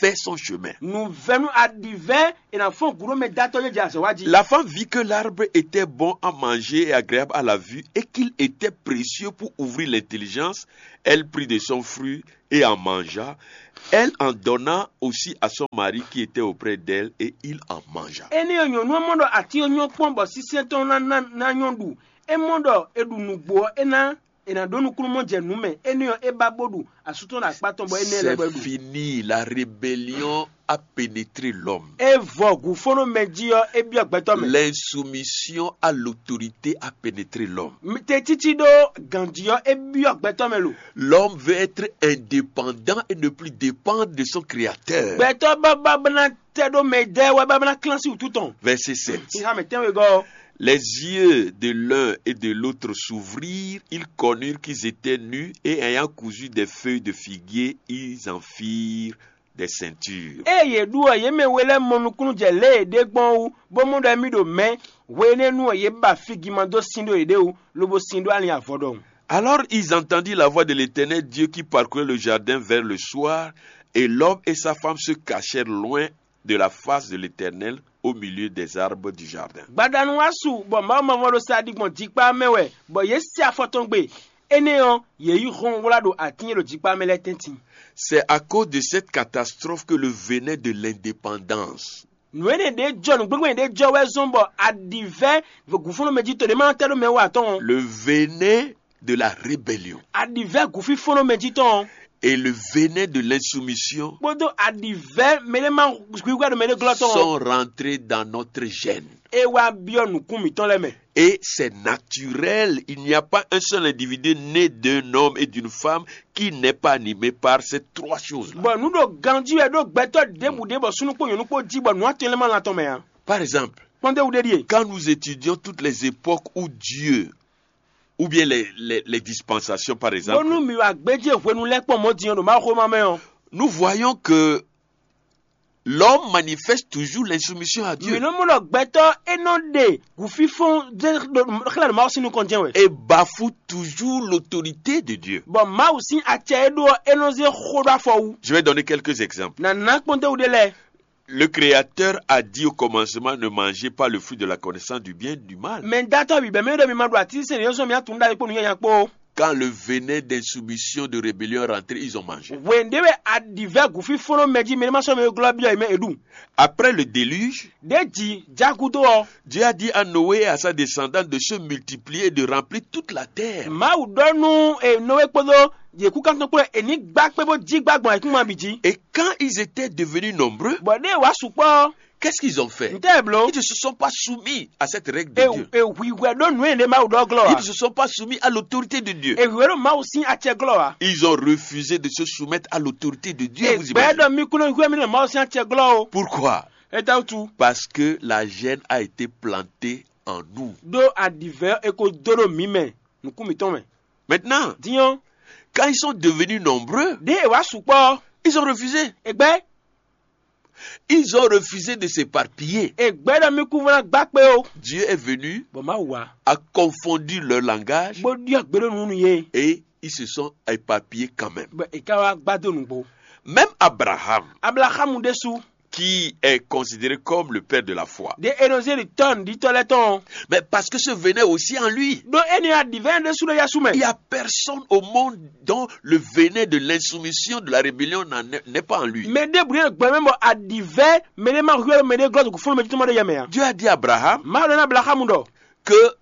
fait son chemin. Nǔvɛ́nu aɖivɛ́ è nǎ fɔ́n gǔ ɖó mɛ dátɔ́ jɛ azɔ̌ wá jí. La femme vit que l'arbre était bon à manger et agréable à la vue et qu'il était précieux pour ouvrir l'intelligence. Elle prit de son fruit et en mangea. Elle en donna aussi à son mari qui était auprès d'elle et il en mangea. Énɛ́ ɔ́, nyɔ̌nu ɔ́ mɔ ɖɔ atín ɔ́ nyɔ́ kpɔ́n bɔ sínsɛ́n tɔn ná ná ná nyɔ́ ɖu. É mɔ ɖɔ è ɖu nǔgbó ɔ́, é ná è nǎ ɖó nukúnnú mɔ jɛ nǔ mɛ. Énɛ́ ɔ́, é ba bó ɖu asú tɔn ɖo akpá tɔn bɔ énɛ́ lɛ́ bɔ é C'est ɖu. Fini, la rébellion a pénétré l'homme. É vɔ gǔfónɔ mɛ jí ɔ́, é byɔ́ gbɛtɔ́ mɛ. L'insoumission à l'autorité a pénétré l'homme. Tetsitsi ɖó ganjí ɔ́, é byɔ́ gbɛtɔ́ mɛ lo. L'homme veut être indépendant et ne plus dépendre de son créateur. Gbɛtɔ́ bábá bá ná tɛ ɖó mɛ dɛ́ wɛ bábá ná klán sí wútu tɔn. Verset sept. Xixá mɛ tɛ́nwegɔ́ ɔ́. Les yeux de l'un et de l'autre s'ouvrirent, ils connurent qu'ils étaient nus et ayant cousu des feuilles de figuier, ils en firent des ceintures. Ée yě ɖu ɔ́, yě mɛ we lɛ́ɛ mɔ nukúnnú jɛ lě e è ɖe gbɔn ɔ́ wú, bó mɔ ɖɔ émí ɖo mɛ̌. Hwenɛ́nu ɔ́, yě ba fígiman dó sin ɖó yěɖée wú, lobo sin ɖó alin avɔ ɖɔhun. Alors ils entendirent la voix de l'Éternel Dieu qui parcourait le jardin vers le soir, et l'homme et sa femme se cachèrent loin de la face de l'Éternel au milieu des arbres du jardin. Gbadanu wá su bɔ Mawu mavɔ ɖo sa ɖi gbɔn jikpá mɛ wɛ, bɔ yě se afɔ tɔn gbe. Énɛ́ ɔ́, yě yi hɔn wlá ɖo atín e ɖo jikpá mɛ lɛ́ɛ tɛ́ntin. C'est à cause de cette catastrophe que le venin de l'indépendance, Nǔ énɛ́ ɖě jɔ nǔgbégbé ɖě jɔ wɛ zɔ́n bɔ aɖǐvɛ́ gǔfúnú mɛ jí to ɖě ma tɛ́ ɖó mɛ wú atɔn ɔ́. Le venin de la rébellion, Aɖǐvɛ́ gǔfífónɔ mɛ jí tɔn ɔ́, et le venin de l'insoumission kpódó aɖǐvɛ́ mɛ ɖé ma gbígbá ɖo mɛ ɖé glɔ́ tɔn ɔ́, Sont rentrés dans notre gène. É wá byɔ́ nǔkún mǐtɔn lɛ́ɛ mɛ. Et c'est naturel, il n'y a pas un seul individu né d'un homme et d'une femme qui n'est pas animé par ces trois choses-là. Bɔ nǔ ɖo ganjí wɛ ɖó gbɛtɔ́ ɖěbǔ ɖé bɔ súnnu kpó nyɔ̌nu kpó jí bɔ nǔ atɔn lɛ́ɛ ma lan tɔn mɛ ǎ. Par exemple, Kpɔ́n ɖé wú ɖé ɖíe. Quand nous étudions toutes les époques où Dieu, ou bien les, les, les dispensations, par exemple, Bónú mi wa gbéjé hwenu lɛ́ kpɔ́n mɔ̌ din ɔ́ ɖo Mawu xwéma mɛ ɔ́, nous voyons que l'homme manifeste toujours l'insoumission à Dieu. Mǐ nɔ mɔ ɖɔ gbɛtɔ́ é nɔ ɖe gǔfífɔ́n ɖé ɖo xlɛ́ ɖo Mawu sín nukɔn jɛ́n wɛ. Et bafoue toujours l'autorité de Dieu. Bɔ Mawu sín acɛ e ɖó ɔ́, é nɔ zé xó ɖó afɔ wú. Je vais donner quelques exemples. Nǎ ná kpɔ́n ɖé wú ɖé lɛ́ɛ. Le Créateur a dit au commencement, ne mangez pas le fruit de la connaissance du bien et du mal. Mɛ datɔ bǐ bɛ́ mɛ ɖɔ mi ma ɖu atínsɛn yɔ́sɔn mi atún ɖ'ayǐ kpó nǔ nyanya kpó. Quand le venin d'insoumission, de rébellion est rentré, ils ont mangé. Hwɛ̌n ɖé wɛ aɖǐvɛ́ gǔfífónɔ mɛ jí mɛ ní ma sɔ́ mɛ glɔ́ byɔ́ mɛ è ɖu. Après le déluge, Ɖěji jágúdó ɔ́, Dieu a dit à Noé et à sa descendante de se multiplier et de remplir toute la terre. Mawu ɖɔ nú e Nɔwé kpódó yě kúkántɔn kpó è ní gbá kpé bó jí gbá gbɔn ayǐkúngban bǐ jí. Et quand ils étaient devenus nombreux, Bɔ ɖěe wǎ sukpɔ́ ɔ́, Qu'est-ce qu'ils ont fait? Ntɛ́ bló? Ils ne se sont pas soumis à cette règle de Dieu. Ehwihwɛ ɖó nǔ e ɖe Mawu ɖɔ glɔ́ Ils ne se sont pas soumis à l'autorité de Dieu. Ehwihwɛ ɖó Mawu sín acɛ glɔ́ wa. Ils ont refusé de se soumettre à l'autorité de Dieu. Vous Egbɛ imaginez? Ɖɔ mí kún nɔ hwɛ mí ɖo Mawu sín acɛ glɔ́ o. Pourquoi? Étawutu? Parce que la gêne a été plantée en nous. Ɖó aɖivɛ e ko dó ɖo mǐ mɛ, nukún mǐtɔn mɛ. Maintenant, Dinyɔn, quand ils sont devenus nombreux, ɖé e wá sukpɔ́ ɔ́, ils ont refusé. Egbɛ Ils ont refusé de s'éparpiller. Egbɛ ɖɔ mí kún vɔ́n ná gbá kpé o. Dieu est venu, Bɔ Mawu wá, a confondu leur langage bó ɖyɔ́ gbe ɖó nǔ nú yé. Et ils se sont éparpillés quand même. Bɔ è ka wá gbá dó nǔgbó. Même Abraham, Ablaxamu ɖésú, Qui est considéré comme le père de la foi. Ɖé e nɔ zé ɖi tɔ́ nǔɖitɔ́ lɛ́ɛ tɔn ɔ́. Mais parce que ce venait aussi en lui. Ɖó énɛ́ aɖǐvɛ́ ɖésú ɖo yá sú mɛ. Il n'y a personne au monde dont le venin de l'insoumission, de la rébellion n'en est- n'est pas en lui. Mɛ ɖěbǔ ɖé ɖo gbɛ mɛ bɔ aɖǐvɛ́ mɛ ɖé ma hwɛ́ mɛ ɖé glɔ́ ɖo fúnnu mɛ títí mɔ ɖé yɛ mɛ ǎ. Dieu a dit à Abraham Mawu ɖɔ ní Ablaxamu ɖɔ, que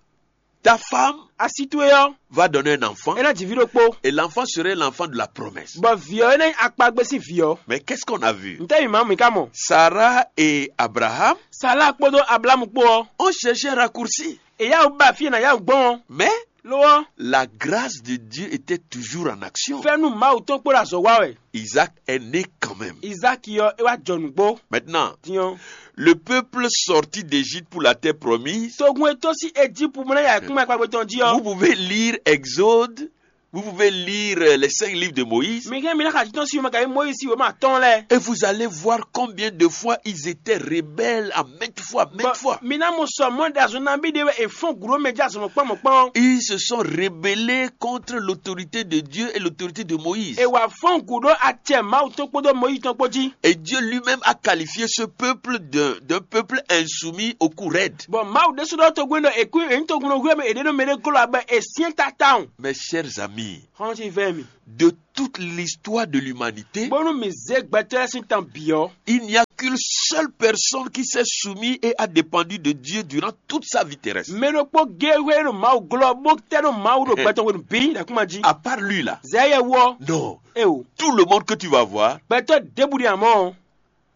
ta femme asi towe ɔ́, Va donner un enfant, é ná ji vǐ ɖokpó. Et l'enfant serait l'enfant de la promesse. Bɔ vǐ ɔ́ é ná nyí akpagbe sín vǐ ɔ́. Mais qu'est-ce qu'on a vu? Ntɛ́ mǐ ma mǐ ka mɔ? Sarah et Abraham Sala kpódó Ablamu kpó ɔ́, Ont cherché un raccourci. È yá wǔ ba fí e nǎ yá wǔ gbɔn ɔ́. Mais Lo ɔ́, la grâce de Dieu était toujours en action. Fɛ́nú Mawu tɔn kpó ɖo azɔ̌ wa wɛ. Isaac est né quand même. Izáki ɔ́, é wá jɔ nǔgbó. Maintenant, Tiɔn. Le peuple sorti d'Égypte pour la terre promise. Togun e tɔ́n sín Ejípu mɔ ná ya kún akpagbe tɔn jí Vous ɔ́. Pouvez lire Exode, vous pouvez lire euh, les cinq livres de Moïse. Mi hɛn mi ná xa títɔn sín wěma kayi Mɔyízi wěma atɔn lɛ́ɛ. Et vous allez voir combien de fois ils étaient rebelles à maintes fois, maintes fois. Mi ná mɔ sɔ mɔ ɖe azɔn nabí ɖe wɛ è fɔn gǔ ɖó mɛ jɛ azɔn mɔkpɔn mɔkpɔn. Ils se sont rebellés contre l'autorité de Dieu et l'autorité de Moïse. È wà fɔn gǔ ɖó acɛ Mawu tɔn kpódó Mɔyízi tɔn kpó jí. Et Dieu lui-même a qualifié ce peuple d'un d'un peuple insoumis au cou raide. Bɔn Mawu ɖésú ɖɔ togun ɖɔ èkú èyí togun nɔ hwé mɛ èɖé nɔ mɛ ɖé glɔ́ abɛ èsyɛn tata o. Mes chers amis, Xɔlɔn ti vɛ mi. De toute l'histoire de l'humanité, Bónú mi zé gbɛtɔ́ lɛ́ɛ sín tan bǐ ɔ́. Il n'y a qu'une seule personne qui s'est soumise et a dépendu de Dieu durant toute sa vie terrestre. Mɛ ɖokpó géé hwɛ ɖo Mawu glɔ́ bó tɛ́ ɖo Mawu ɖo gbɛtɔ́ hwenu bǐ ɖo akúma jí. À part lui là. Zɛ yɛ wú ɔ́. Non. E o. Tout le monde que tu vas voir Gbɛtɔ́ ɖěbǔ ɖi amɔ́.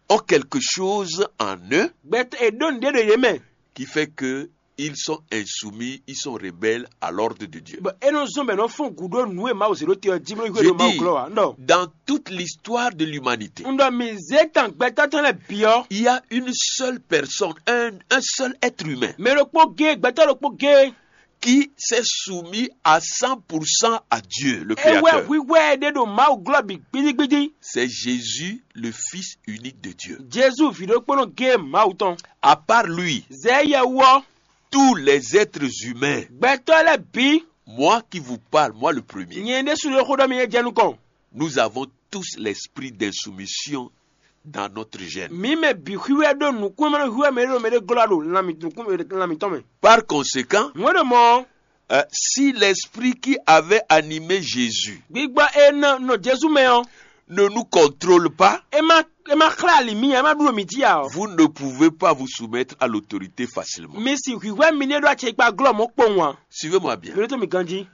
Ont quelque chose en eux Gbɛtɔ́ è ɖó nǔɖé ɖo yě mɛ. Qui fait que ils sont insoumis, ils sont rebelles à l'ordre de Dieu. Bɔ é nɔ zɔ́n bɔ è nɔ fɔ́n gǔ ɖó nǔ e Mawu zě ɖó te ɔ́ jí bó hwé Je ɖo Mawu dis, glɔ́ ǎ. Un ɖɔ dans toute l'histoire de l'humanité, un ɖɔ mǐ zé tan gbɛtɔ́ tɔn lɛ́ɛ bǐ ɔ́. Il y a une seule personne, un, un seul être humain Mɛ ɖokpó géé, gbɛtɔ́ ɖokpó géé. Qui s'est soumis à cent pour cent à Dieu, le Créateur. É wɛ hwíhwɛ́ ɖé ɖo Mawu glɔ́ bǐ gbídígbídí. C'est Jésus, le Fils unique de Dieu. Jezu vǐ ɖokpónɔ géé Mawu tɔn. À part lui, Zɛ yɛ wú ɔ́, tous les êtres humains, gbɛtɔ́ lɛ́ɛ bǐ. Moi qui vous parle, moi le premier, Nyɛ ɖésú ɖo xó ɖɔ mi é jɛ nukɔn. Nous avons tous l'esprit d'insoumission dans notre gène. Mǐ mɛ bǐ xwíwɛ ɖó nǔkún e ma nɔ hwíwɛ mɛ ɖé ɖo mɛ ɖé glɔ́ ɖo lan mǐ- nukún lan mǐtɔn mɛ. Par conséquent, Nǔ e ɖo mɔ̌, euh, si l'esprit qui avait animé Jésus gbígbɔ e nɔ nɔ Jezu mɛ ɔ́, ne nous contrôle pas, é má é má xlá ali mǐ ǎ, é má ɖu ɖo mǐ jí ǎ ɔ́. Vous ne pouvez pas vous soumettre à l'autorité facilement. Mi si hwǐhwɛ́ mi ní ɖó acɛkpa glɔ́ mɔ̌ kpowun ǎ. Suivez-moi bien. Mi ɖótó mi ganjí.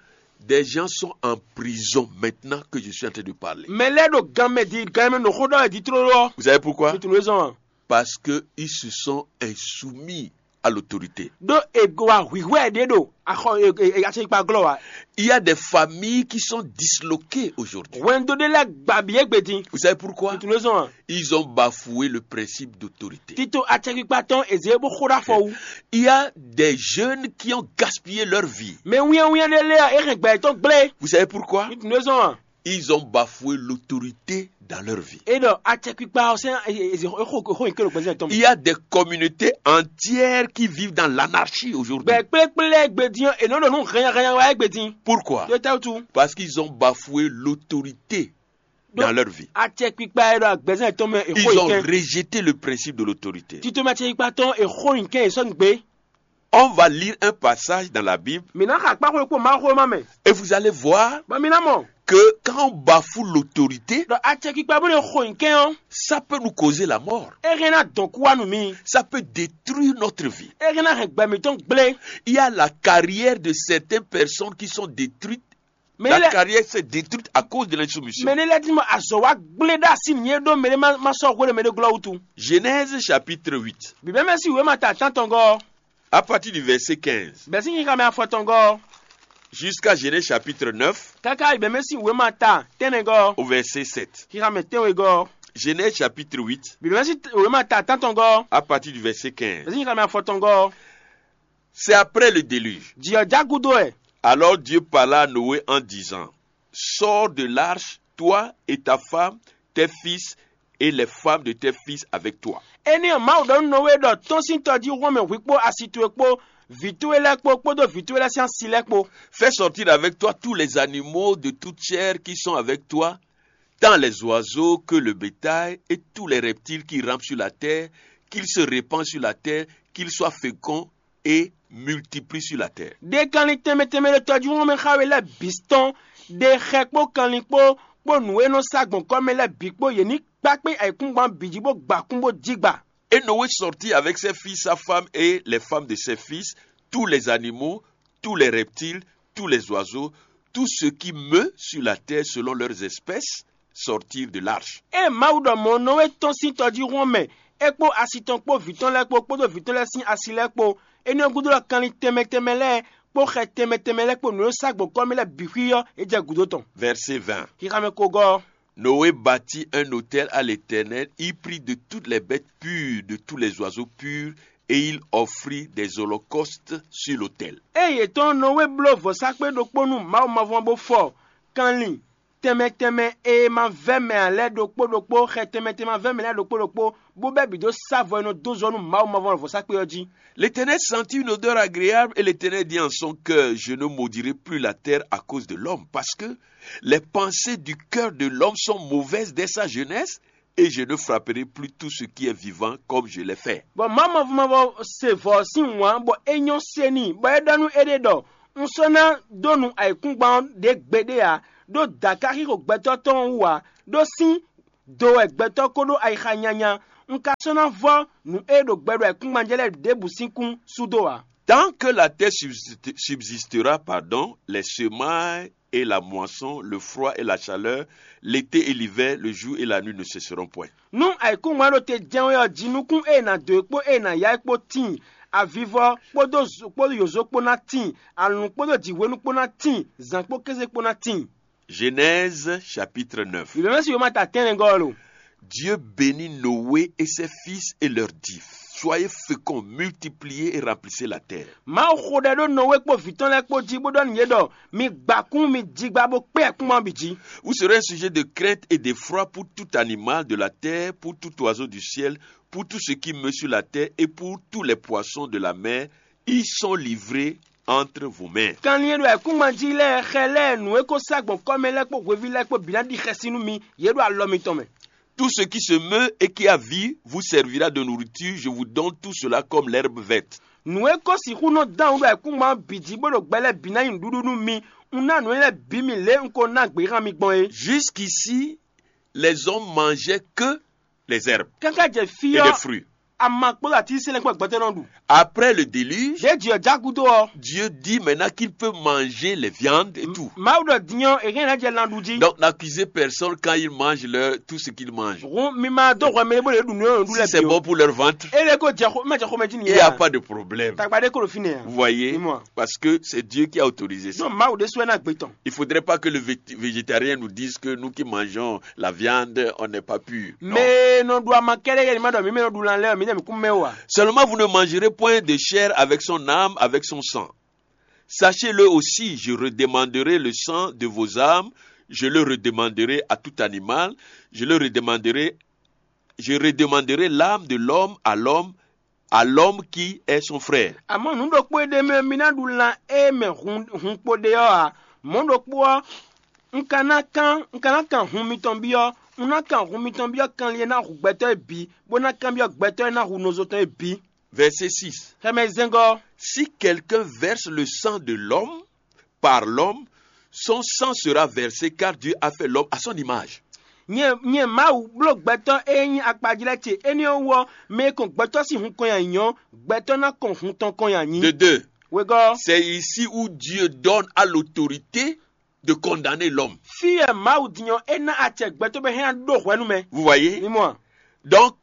Des gens sont en prison maintenant que je suis en train de parler. Mɛ lɛ́ɛ ɖo gan mɛ di gan mɛ ɖo xó ɖɔ wɛ di tlóló ɔ́. Vous savez pourquoi? Mi tunwun e zɔn a? Parce que ils se sont insoumis à l'autorité. Ɖó è wa hwǐhwɛ́ ɖé ɖo axɔ acɛkpa glɔ́ wa. Il y a des familles qui sont disloquées aujourd'hui. Hwɛndo ɖé lɛ́ɛ gba bǐ égbé din. Vous savez pourquoi? Mi tunwun e zɔn a? Ils ont bafoué le principe d'autorité. Tito acɛkpikpa tɔn è zě bó xó ɖó afɔ wú. Il y a des jeunes qui ont gaspillé leur vie. Mɛ wínnyáwínnyá ɖé lɛ́ɛ é hɛn gbɛ yětɔn gblé. Vous savez pourquoi? Mi tunwun e zɔn a? Ils ont bafoué l'autorité dans leur vie. É ɖɔ acɛkpikpa ɔ́ sɛn é xo é xo nyi ké ɖo gbɛzɛn tɔn mɛ. Il y a des communautés entières qui vivent dans l'anarchie aujourd'hui. Gbɛ kplékplé lɛ́ɛ gbedin ɔ́, è nɔ ɖo nú hɛnyahɛnya wá é gbedin. Pourquoi? Ɖó tɛ́wútu. Parce qu'ils ont bafoué l'autorité dans leur vie. Acɛkpikpa e ɖo agbɛzɛn tɔn mɛ è Ils xo ont yi kɛn. Rejeté le principe de l'autorité. Tito mɛ acɛkpikpa tɔn è xo yi kɛn è sɔ́ nyi gbé. On va lire un passage dans la Bible Mǐ ná xa kpáxwé kpó Mawuxówéma mɛ. Et vous allez voir Bɔ mi ná mɔ. Que quand on bafoue l'autorité, Ɖɔ acɛkpikpa bó nɔ xo nyǐkɛ́n ɔ́, Ça peut nous causer la mort. É hɛn ná dɔn kú wá nú mi. Ça peut détruire notre vie. É hɛn ná hɛn gbɛ mǐtɔn gblé. Il y a la carrière de certaines personnes qui sont détruites Mɛ La lɛ carrière s'est détruite à cause de l'insoumission. Mɛ lɛ ti mɔ azɔ wa gblé ɖo asi nyi e ɖó mɛ ɖé ma ma sɔ́ hwé ɖo mɛ ɖé glɔ́ wútu. Genèse chapitre huit. Bibɛ mɛ si wěma ta tántɔngɔ́, À partir du verset quinze bɛ́ sín xixa mɛ afɔtɔngɔ́, jusqu'à Genèse chapitre neuf káká bibɛ mɛ si wěma ta tɛnɛgɔ́, au verset sept. xixa mɛ tɛnwegɔ́, Genèse chapitre huit bibɛ mɛ si wěma ta tántɔngɔ́, à partir du verset quinze. bɛ́ sín xixa mɛ afɔtɔngɔ́. C'est après le déluge. Jiyɔ jágúdó ɛ. Alors Dieu parla à Noé en disant, sors de l'arche, toi et ta femme, tes fils et les femmes de tes fils avec toi. Énɛ́ ɔ́, Mawu ɖɔ nú Nɔwée ɖɔ tɔ́n sín tɔjíhún mɛ hwi kpó asi towe kpó vǐ towe lɛ́ɛ kpó kpódó vǐ towe lɛ́ɛ sín asi lɛ́ɛ kpó. Fais sortir avec toi tous les animaux de toute chair qui sont avec toi, tant les oiseaux que le bétail et tous les reptiles qui rampent sur la terre, qu'ils se répandent sur la terre, qu'ils soient féconds et multiplient sur la terre. Ɖe kanlin tɛnmɛ tɛnmɛ ɖo tɔjíhún mɛ xá we lɛ́ɛ bǐ tɔn. Ɖe xɛ kpó kanlin kpó kpó nǔ e nɔ sá gbɔn kɔ́ mɛ lɛ́ɛ bǐ kpó yě ní kpá kpé ayǐkúngban bǐ jí bó gba kún bó jí gba. Et Noé sortit avec ses fils, sa femme et les femmes de ses fils, tous les animaux, tous les reptiles, tous les oiseaux, tout ce qui meut sur la terre selon leurs espèces, sortirent de l'arche. Ée Mawu ɖɔ mɔ̌ nɔ e tɔ́n sín tɔjíhún ɔ́ mɛ, é kpó asi tɔn kpó vǐ tɔn lɛ́ɛ kpó kpódó vǐ tɔn lɛ́ɛ sín asi lɛ́ɛ kpó. Énɛ́ ɔ́ gúdo ɔ́, kanlin tɛnmɛ tɛnmɛ lɛ́ɛ kpó xɛ tɛnmɛ tɛnmɛ lɛ́ɛ kpó nǔ e sá gbɔn kɔ́ mɛ lɛ́ɛ bǐ xwí ɔ́, é jɛ gǔdo tɔn. Verset vingt. Xixa mɛ kogɔ́ ɔ́, Noé bâtit un autel à l'Éternel, il prit de toutes les bêtes pures, de tous les oiseaux purs, et il offrit des holocaustes sur l'autel. Ée yě tɔ́n Nɔwée bló vɔ̌sákpe ɖokpó nú Mawu mavɔ bó fɔ kanlin tɛnmɛ tɛnmɛ e ma vɛ́ mɛ ǎ lɛ́ɛ ɖokpó ɖokpó, xɛ tɛnmɛ tɛnmɛ ma vɛ́ mɛ lɛ́ɛ ɖokpó ɖokpó, bó bɛ́ bǐ dó sá vɔ e nɔ dó zɔ nú Mawu mavɔ vɔ̌sákpe ɔ́ jí. L'Éternel sentit une odeur agréable et l'Éternel dit en son cœur, je ne maudirai plus la terre à cause de l'homme, parce que les pensées du cœur de l'homme sont mauvaises dès sa jeunesse, et je ne frapperai plus tout ce qui est vivant comme je l'ai fait. Bɔ Mawu mavɔ mavɔ se vɔ̌ sín wǎn bɔ é nyɔ́ se n'i, bɔ é ɖɔ nú éɖée ɖɔ: Un sɔ́ ná dó nu ayǐkúngban ɔ́ ɖě gbeɖé ǎ, ɖó dǎ ka xixo gbɛtɔ́ tɔn ɔ́ wú ǎ, ɖó sín do wɛ gbɛtɔ́ ko ɖó ayixa nyanya. Un ka sɔ́ ná vɔ́ nǔ e ɖo gbɛ ɖo ayǐkúngban jɛ lɛ́ɛ ɖěbǔ sín kún sú dó ǎ. Tant que la terre subsiste- subsistera, pardon, les semailles et la moisson, le froid et la chaleur, l'été et l'hiver, le jour et la nuit ne cesseront point. Nú ayǐkúngban ɖo te jɛ́n wɛ ɔ́, jinukún e è nǎ dó e kpó e è nǎ ya é kpó tíin, avivɔ kpódó zo- kpódó yǒzo kpó ná tíin, alǔn kpódó jǐhwenu kpó ná tíin, zǎn kpó kéze kpó ná tíin. Genèse chapitre neuf. Bǐbɛ́mɛ́ si wěma ta tɛ́nnɛgɔ́ ɔ́ lo. Dieu bénit Noé et ses fils et leur dit, soyez féconds, multipliez et remplissez la terre. Mawu xo ɖɛ ɖó Nɔwé kpó vǐ tɔn lɛ́ɛ kpó jí bó ɖɔ nú yě ɖɔ: Mi gba kún, mi jigba bó kpé ayǐkúngban bǐ jí. Vous serez un sujet de crainte et d'effroi pour tout animal de la terre, pour tout oiseau du ciel, pour tout ce qui meut sur la terre et pour tous les poissons de la mer. Ils sont livrés entre vos mains. Kanlin e ɖo ayǐkúngban jí lɛ́ɛ, xɛ lɛ́ɛ, nǔ e ko sá gbɔn kɔ́ mɛ lɛ́ɛ kpó hweví lɛ́ɛ kpó bǐ ná ɖi xɛsi nú mi; yě ɖo alɔ mitɔn mɛ. Tout ce qui se meut et qui a vie vous servira de nourriture, je vous donne tout cela comme l'herbe verte. Nǔ e ko sixú nɔ dán wǔ ɖo ayǐkúngban ɔ́ bǐ jí bó ɖo gbɛ lɛ́ɛ bǐ ná nyí nǔɖuɖu nú mi. Un ná nǔ énɛ́ lɛ́ɛ bǐ mi lě e un ko ná gběhan mi gbɔn é. Jusqu'ici, les hommes mangeaient que les herbes Káká jɛ fí et les ɔ́, fruits. Ama kpódó atínsínsɛ́n lɛ́ɛ kpó gbɛtɔ́ nɔ ɖu. Après le déluge, Ɖěe jǐ ɔ́ já gúdo ɔ́, Dieu dit maintenant qu'ils peuvent manger les viandes et tout. Mawu ɖɔ din ɔ́, è hɛn ná jɛ lan ɖu jí. Donc n'accusez personne quand ils mangent leur, tout ce qu'ils mangent. Hǔn mi ma dó hwɛ mɛ bó lě ɖu nǔ e nɔ ɖu lɛ́ɛ. Si c'est bon pour leur ventre, é lě ko jɛ xó, é ma jɛ xomɛ jí nìyẹn. Il n'y a pas de problème. Tagba ɖé ko ɖo fínɛ́ ǎ. Vous voyez? Dis-moi. Parce que c'est Dieu qui a autorisé ça. Non, Mawu ɖésú wɛ ná gbé tɔn. Il faudrait pas que le vét- végétarien nous dise que nous qui mangeons la viande, on n'est pas pur. Non. Mɛ e nɔ ɖu ama kɛ́ɖɛ́ yɛ ni ma ɖɔ mǐ mɛ nɔ ɖu lan lɛ́ɛ ɔ́, mǐ nɛ mǐ kún mɛ o ǎ. Seulement vous ne mangerez point de chair avec son âme, avec son sang. Sachez-le aussi, je redemanderai le sang de vos âmes, je le redemanderai à tout animal, je le redemanderai, je redemanderai l'âme de l'homme à l'homme, à l'homme qui est son frère. Amɔ̌ nǔ ɖokpó e ɖ'é mɛ ɔ́, mi ná ɖu lan e mɛ hun hun kpo ɖe ɔ́ ǎ. Mɔ̌ ɖokpó ɔ́, un ka ná kán un ka ná kan hun mitɔn byɔ́. Un ná kan hun mitɔn byɔ́ kanlin e ná hu gbɛtɔ́ é bǐ, bó ná kanbyɔ́ gbɛtɔ́ e ná hu nɔzo tɔn é bǐ. Verset six. Xɛmɛ zɛngɔ́. Si quelqu'un verse le sang de l'homme par l'homme, son sang sera versé, car Dieu a fait l'homme à son image. Nyɛ nyɛ Mawu bló gbɛtɔ́ e nyí akpajlɛ́ ce; énɛ́ ɔ́ wú ɔ́, mɛ e kɔn gbɛtɔ́ sín hun kɔn nyi ayǐ ɔ́, gbɛtɔ́ ná kɔn hun tɔn kɔn nyi ayǐ. De deux. Wegɔ́. C'est ici où Dieu donne à l'autorité de condamner l'homme. Fí e Mawu din ɔ́, é ná acɛ gbɛtɔ́ bɔ é hɛn ná ɖó hwɛ nú mɛ. Vous voyez? Mi mɔ a? Donc,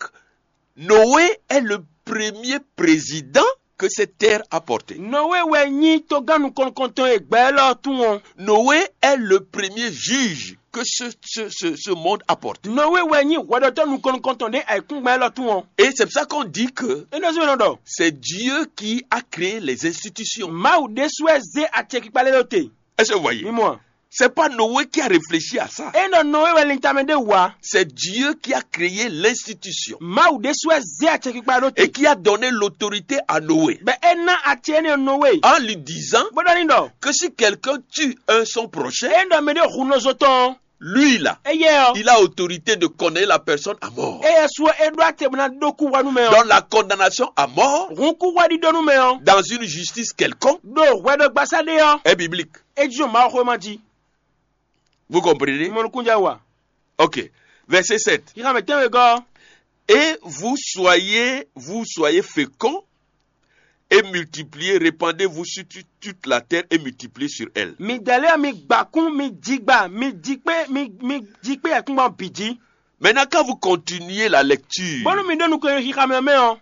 Noé est le premier président que cette terre a porté. Noé wɛ nyí togán nukɔn-nukɔntɔn e gbɛ élɔ́ tún ɔ́. Noé est le premier juge que ce, ce, ce, ce monde a porté. Noé wɛ nyí hwɛɖɔtɔ́ nukɔn-nukɔntɔn ɖé ayǐkúngban élɔ́ tún ɔ́. Et c'est pour ça qu'on dit que Énɛ́ zɔ́n nɔ ɖɔ c'est Dieu qui a créé les institutions. Mawu ɖésú wɛ zé acɛkpikpa lélɔ́ te. Est-ce que vous voyez? Mi mɔ a? C'est pas Noé qui a réfléchi à ça. É nɔ Noé wɛ lintamɛ ɖé wǎ. C'est Dieu qui a créé l'institution Mawu ɖésú wɛ zé acɛkpikpa ɖó et te. Qui a donné l'autorité à Noé Bɛ é ná acɛ énɛ́ Noé. En lui disant Bó ɖɔ ní ɖɔ. Que si quelqu'un tue un son prochain, é nɔ mɛ ɖé hu nɔzo tɔn. Lui là, Éyɛ́ ɔ́. Il a autorité de condamner la personne à mort. Éyɛ́ su ɔ́ é ɖó acɛ bó ná ɖó kú hwɛ nú mɛ ɔ́. Donc la condamnation à mort Hǔn kú hwɛ ɖiɖɔ nú mɛ ɔ́. Dans une justice quelconque Ɖo hwɛɖɔgbasá ɖé ɔ́. Est biblique. É jí ɖo Mawuxówéma jí. Vous comprenez? Mɔ nukúnjɛ wa. Ok. Verset sept. Yíxa mɛ tɛ́nwe gɔ́. Et vous soyez, vous soyez féconds et multipliez, répandez-vous sur tu- toute la terre et multipliez sur elle. Mi dɛlɛ mi gbakún mi jigba mi jikpé mi mi jikpé yɛkúngbɔn bǐ jí. Maintenant, quand vous continuez la lecture, Bónú mi ɖó nukɔn xixa mɛ mɛ ɔ́,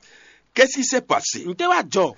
Qu'est-ce qui s'est passé? Ntɛ́ wá jɔ?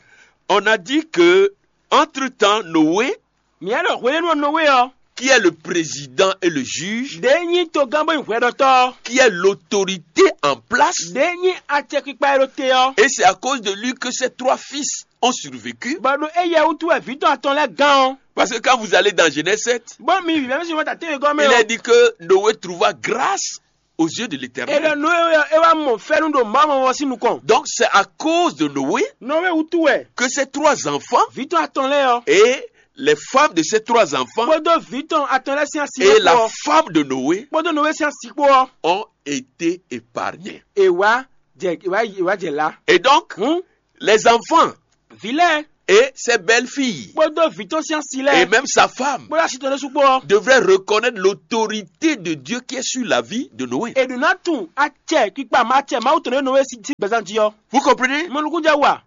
On a dit que, entre-temps, Noé, Mǐ wá ɖɔ hwenɛ́nu ɔ́ Nɔwée ɔ́, qui est le président et le juge, ɖě nyí togán bó nyí hwɛɖɔtɔ́ ɔ́, qui est l'autorité en place, ɖě nyí acɛkpikpa e ɖo te ɔ́. Et c'est à cause de lui que ses trois fils ont survécu. Bɔ ɖo éyɛ́ wútu wɛ vǐ tɔn atɔn lɛ́ɛ gán ɔ́. Parce que quand vous allez dans Genèse sept, Bɔ mi vǐvɛ́ mɛ si wɛn ta tɛ́nwe gɔ́ mɛ il est ɔ́, dit que Noé trouva grâce aux yeux de l'Éternel. È ɖɔ Nɔwée ɔ́ é wá mɔ fɛ́nú ɖo Mawu mɔmɔ sín nukɔn. Donc c'est à cause de Noé Nɔwée wútu wɛ que ces trois enfants vǐ tɔn atɔn lɛ́ɛ ɔ́, Et les femmes de ces trois enfants kpódó vǐ tɔn atɔn lɛ́ɛ sín asi et la lɛ́ɛ kpó ɔ́, Femme de Noé kpódó Nɔwée sín asi kpó ɔ́, Ont été épargnés. È wá jɛ è wá è wá jɛ lá. Et donc, Hǔn les enfants vǐ lɛ́ɛ et ses belles-filles kpódó vǐ tɔn sín asi et lɛ́ɛ même sa femme kpódó asi tɔn ɖésú kpó ɔ́, Devraient reconnaître l'autorité de Dieu qui est sur la vie de Noé. È ɖǒ ná tunwun acɛ kpikpa ma acɛ Mawu tɔn ɖé Nɔwée sín gbɛzán jí ɔ́. Vous comprenez? Mɔnukúnjɛ wa.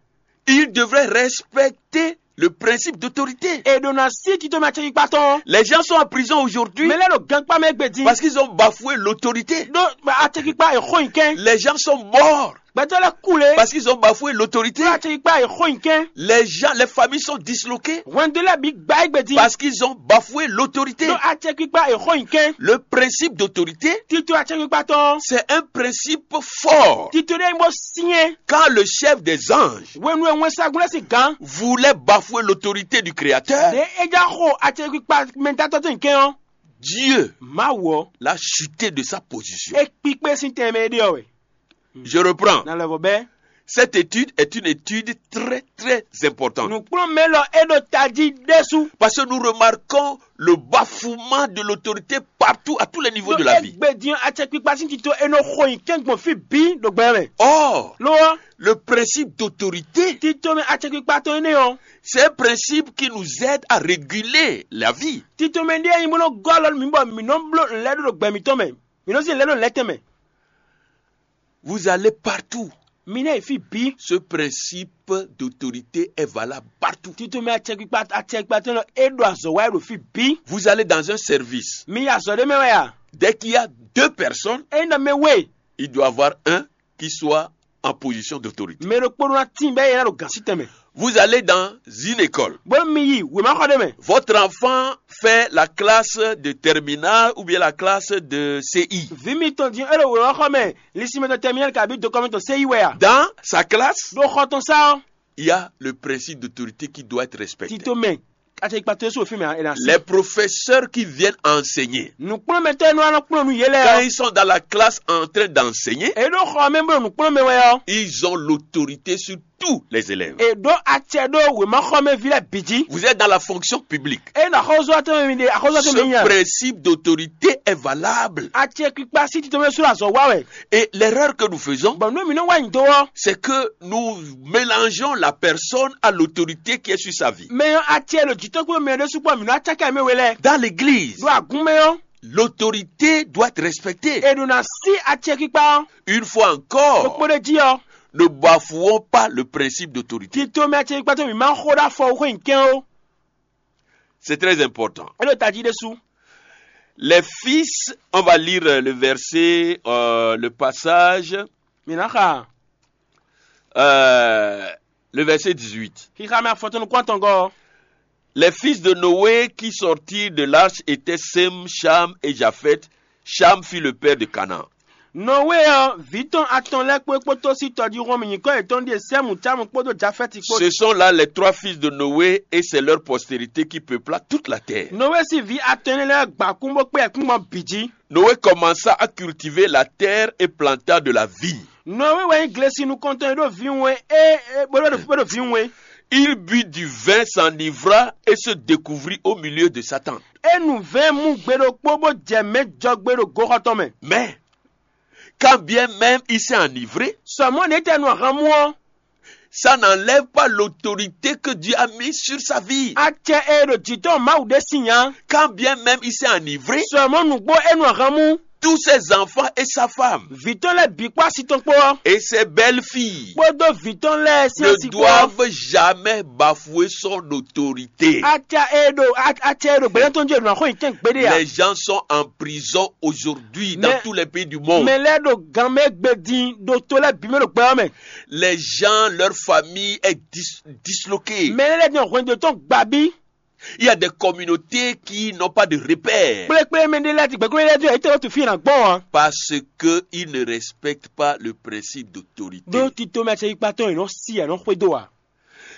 Ils devraient respecter le principe d'autorité. È ɖǒ ná sí tito mɛ acɛ kpikpa tɔn. Les gens sont en prison aujourd'hui Mɛ lɛ́ɛ ɖo gankpá mɛ égbé din. Parce qu'ils ont bafoué l'autorité. Ɖó acɛ kpikpa è xó nyi kɛn. Les gens sont morts Gbɛtɔ́ lɛ́ɛ kú lě. Parce qu'ils ont bafoué l'autorité. Ɖó acɛ kpikpa è xó nyi kɛn. Les gens, les familles sont disloquées Hwɛndo lɛ́ɛ bǐ gbá égbé din. Parce qu'ils ont bafoué l'autorité. Ɖó acɛ kpikpa è xó nyi kɛn. Le principe d'autorité, Tito acɛ kpikpa tɔn. C'est un principe fort. Tito ɖé nyí bó syɛ́n. Quand le chef des anges Hwenu e wɛnsagun lɛ́ɛ sín gǎn voulait bafouer l'autorité du Créateur, ɖě é já xo acɛ kpikpa mɛdátɔ́ tɔn nyi kɛn ɔ́, Dieu Mawu ɔ́ l'a chuté de sa position. É kpíkpé sín tɛnmɛ e ɖe ɔ́ wɛ. Je reprends. Na lɛvɔ bɛ́. Cette étude est une étude très, très importante. Nǔkplɔ́nmɛ lɔ é ɖo tají ɖésú. Parce que nous remarquons le bafouement de l'autorité partout, à tous les niveaux de la vie. Égbé din acɛkpikpa sín tito è nɔ xo nyi kɛ́n gbɔn fí bǐ ɖo gbɛ mɛ. Or, Lo ɔ́, le principe d'autorité, tito mɛ acɛkpikpa tɔn énɛ́ ɔ́, c'est un principe qui nous aide à réguler la vie. Tito mɛ ɖíe nyí bó nɔ gɔ́ alɔ nú mǐ bɔ mǐ nɔ bló nǔ lɛ́ɛ ɖó ɖo gbɛ mǐtɔn mɛ. Mǐ nɔ zin lɛ̌ ɖo lɛ̌ tɛnmɛ. Vous allez partout. Mi ná yi fí bǐ. Ce principe d'autorité est valable partout. Tito mɛ acɛkpikpa acɛkpikpa tɔn nɔ é ɖo azɔ̌ wa é ɖo fí bǐ. Vous allez dans un service. Mi yi azɔ̌ ɖé mɛ wɛ a? Dès qu'il y a deux personnes, Ényí ɖɔ mɛ we, il doit avoir un qui soit en position d'autorité. Mɛ ɖokpó ɖó ná tíin bɛ́ é ná ɖo gǎn sí tɛnmɛ. Vous allez dans une école. Bó mi yi wěmaxɔ ɖé mɛ. Votre enfant fait la classe de terminale ou bien la classe de C I. Vǐ mitɔn din é ɖo wěmaxɔ mɛ, lisimɛtɔn tɛmínɛli kabi dokɔmɛtɔn séyi wɛ a? Dans sa classe, Ɖo xɔ tɔn sá ɔ́, il y a le principe d'autorité qui doit être respecté. Tito mɛ, acɛkpikpa towe sín wěfín mɛ è nǎ sí. Les professeurs qui viennent enseigner, Nǔkplɔ́nmɛtɔ́ e nɔ wá nɔ kplɔ́n nú yě lɛ́ɛ quand ɔ́, ils sont dans la classe en train d'enseigner, è ɖó xɔ mɛ bó ɖo nǔkplɔ́n mɛ wɛ ɔ́, Ils ont l'autorité sur tous les élèves. È ɖó acɛ ɖó wěmaxɔmɛví lɛ́ɛ bǐ jí. Vous êtes dans la fonction publique. Ényí ɖo axɔ́súzɔ́watɔ́ mɛ mi ɖe axɔ́súzɔ́tɔ́ mɛ Ce nyí a? Principe d'autorité est valable. Acɛkpikpa sí tito mɛ sú azɔ̌ wa wɛ. Et l'erreur que nous faisons, Bɔ nú mǐ nɔ wá nyi do ɔ́, C'est que nous mélangeons la personne à l'autorité qui est sur sa vie. Mɛ ɔ́ acɛ ɖo jǐtɔ́ kpó mɛ ɖésú kpó mǐ nɔ acákɛ mɛ we lɛ́ɛ. Dans l'église, Ɖo agún mɛ ɔ́, L'autorité doit être respectée. È ɖo ná sí acɛkpikpa ɔ́. Une fois encore, Ɖokpó ɖé jí ɔ́, Ne bafouons pas le principe d'autorité. Tito mɛ acɛkpikpa tɔn mǐ má xó ɖó afɔ xó nyi kɛn ó. C'est très important. É ɖo tají ɖésú. Les fils, on va lire le verset, euh, le passage, Mǐ ná xa euh, le verset dix-huit. Xixa mɛ afɔtɔn nukún atɔngɔ́. Les fils de Noé qui sortirent de l'arche étaient Sem, Cham et Japheth. Cham fut le père de Canaan. Nɔwée ɔ́, vǐ tɔn atɔn lɛ́ɛ kpó é kpódó sí tɔjíhún ɔ́ mɛ nyǐkɔ yětɔn ɖíe Sɛ́mu, Cámu kpódó Jafɛ́ti kpó. Ce sont là les trois fils de Noé et c'est leur postérité qui peupla toute la terre. Nɔwée sín vǐ atɔn énɛ́ lɛ́ɛ gbǎ kún bó kpé ayǐkúngban bǐ jí. Noé commença à cultiver la terre et planta de la vigne. Nɔwée wɛ nyí glesi nukɔntɔn e ɖó vǐwun é, é bó ɖo bó ɖo vǐwun é. Il but du vin, s'enivra et se découvrit au milieu de sa tente. É nu vɛ̌ɛn mú gbe ɖokpó bó jɛ mɛ̌ jɔgbe ɖo goxɔ tɔn mɛ. Mais, quand bien même il s'est enivré, Sɔmɔ́ ɖě tɛ nu ahan mú ɔ́, ça n'enlève pas l'autorité que Dieu a mise sur sa vie. acɛ e ɖo jǐ tɔn Mawu ɖé sin nya. Quand bien même il s'est enivré, Sɔmɔ́ nǔgbó é nu ahan mú. Tous ses enfants et sa femme, Vǐ tɔn lɛ́ɛ bǐ kpó asi tɔn kpó ɔ́, et ses belles-filles, kpódó vǐ tɔn lɛ́ɛ sín ne asi kpó ɔ́. Doivent jamais bafouer son autorité. Acɛ e ɖo acɛ e ɖo gbɛ̌nɛ́ tɔn jí e ɖo axɔ́ nyi tɛn gbeɖé ǎ. Les gens sont en prison aujourd'hui dans Mais- tous les pays du monde. Mɛ lɛ́ɛ ɖo gan mɛ gbe din ɖo to lɛ́ɛ bǐ mɛ ɖo gbɛ ɔ́ mɛ. Les gens, leur famille est dis- disloquée. Mɛ lɛ́ɛ ɖin hwɛndo tɔn gbabí. Il y a des communautés qui n'ont pas de repère Kplékplé mɛ ɖé lɛ́ɛ ti gbɛkúlé lɛ́ɛ dó yɛ yě tɛ wó tu fí ná gbɔn ǎ. Parce qu'ils ne respectent pas le principe d'autorité. Ɖó tito mɛ acɛyikpatɔn yě nɔ sí yě nɔ xwedó ǎ.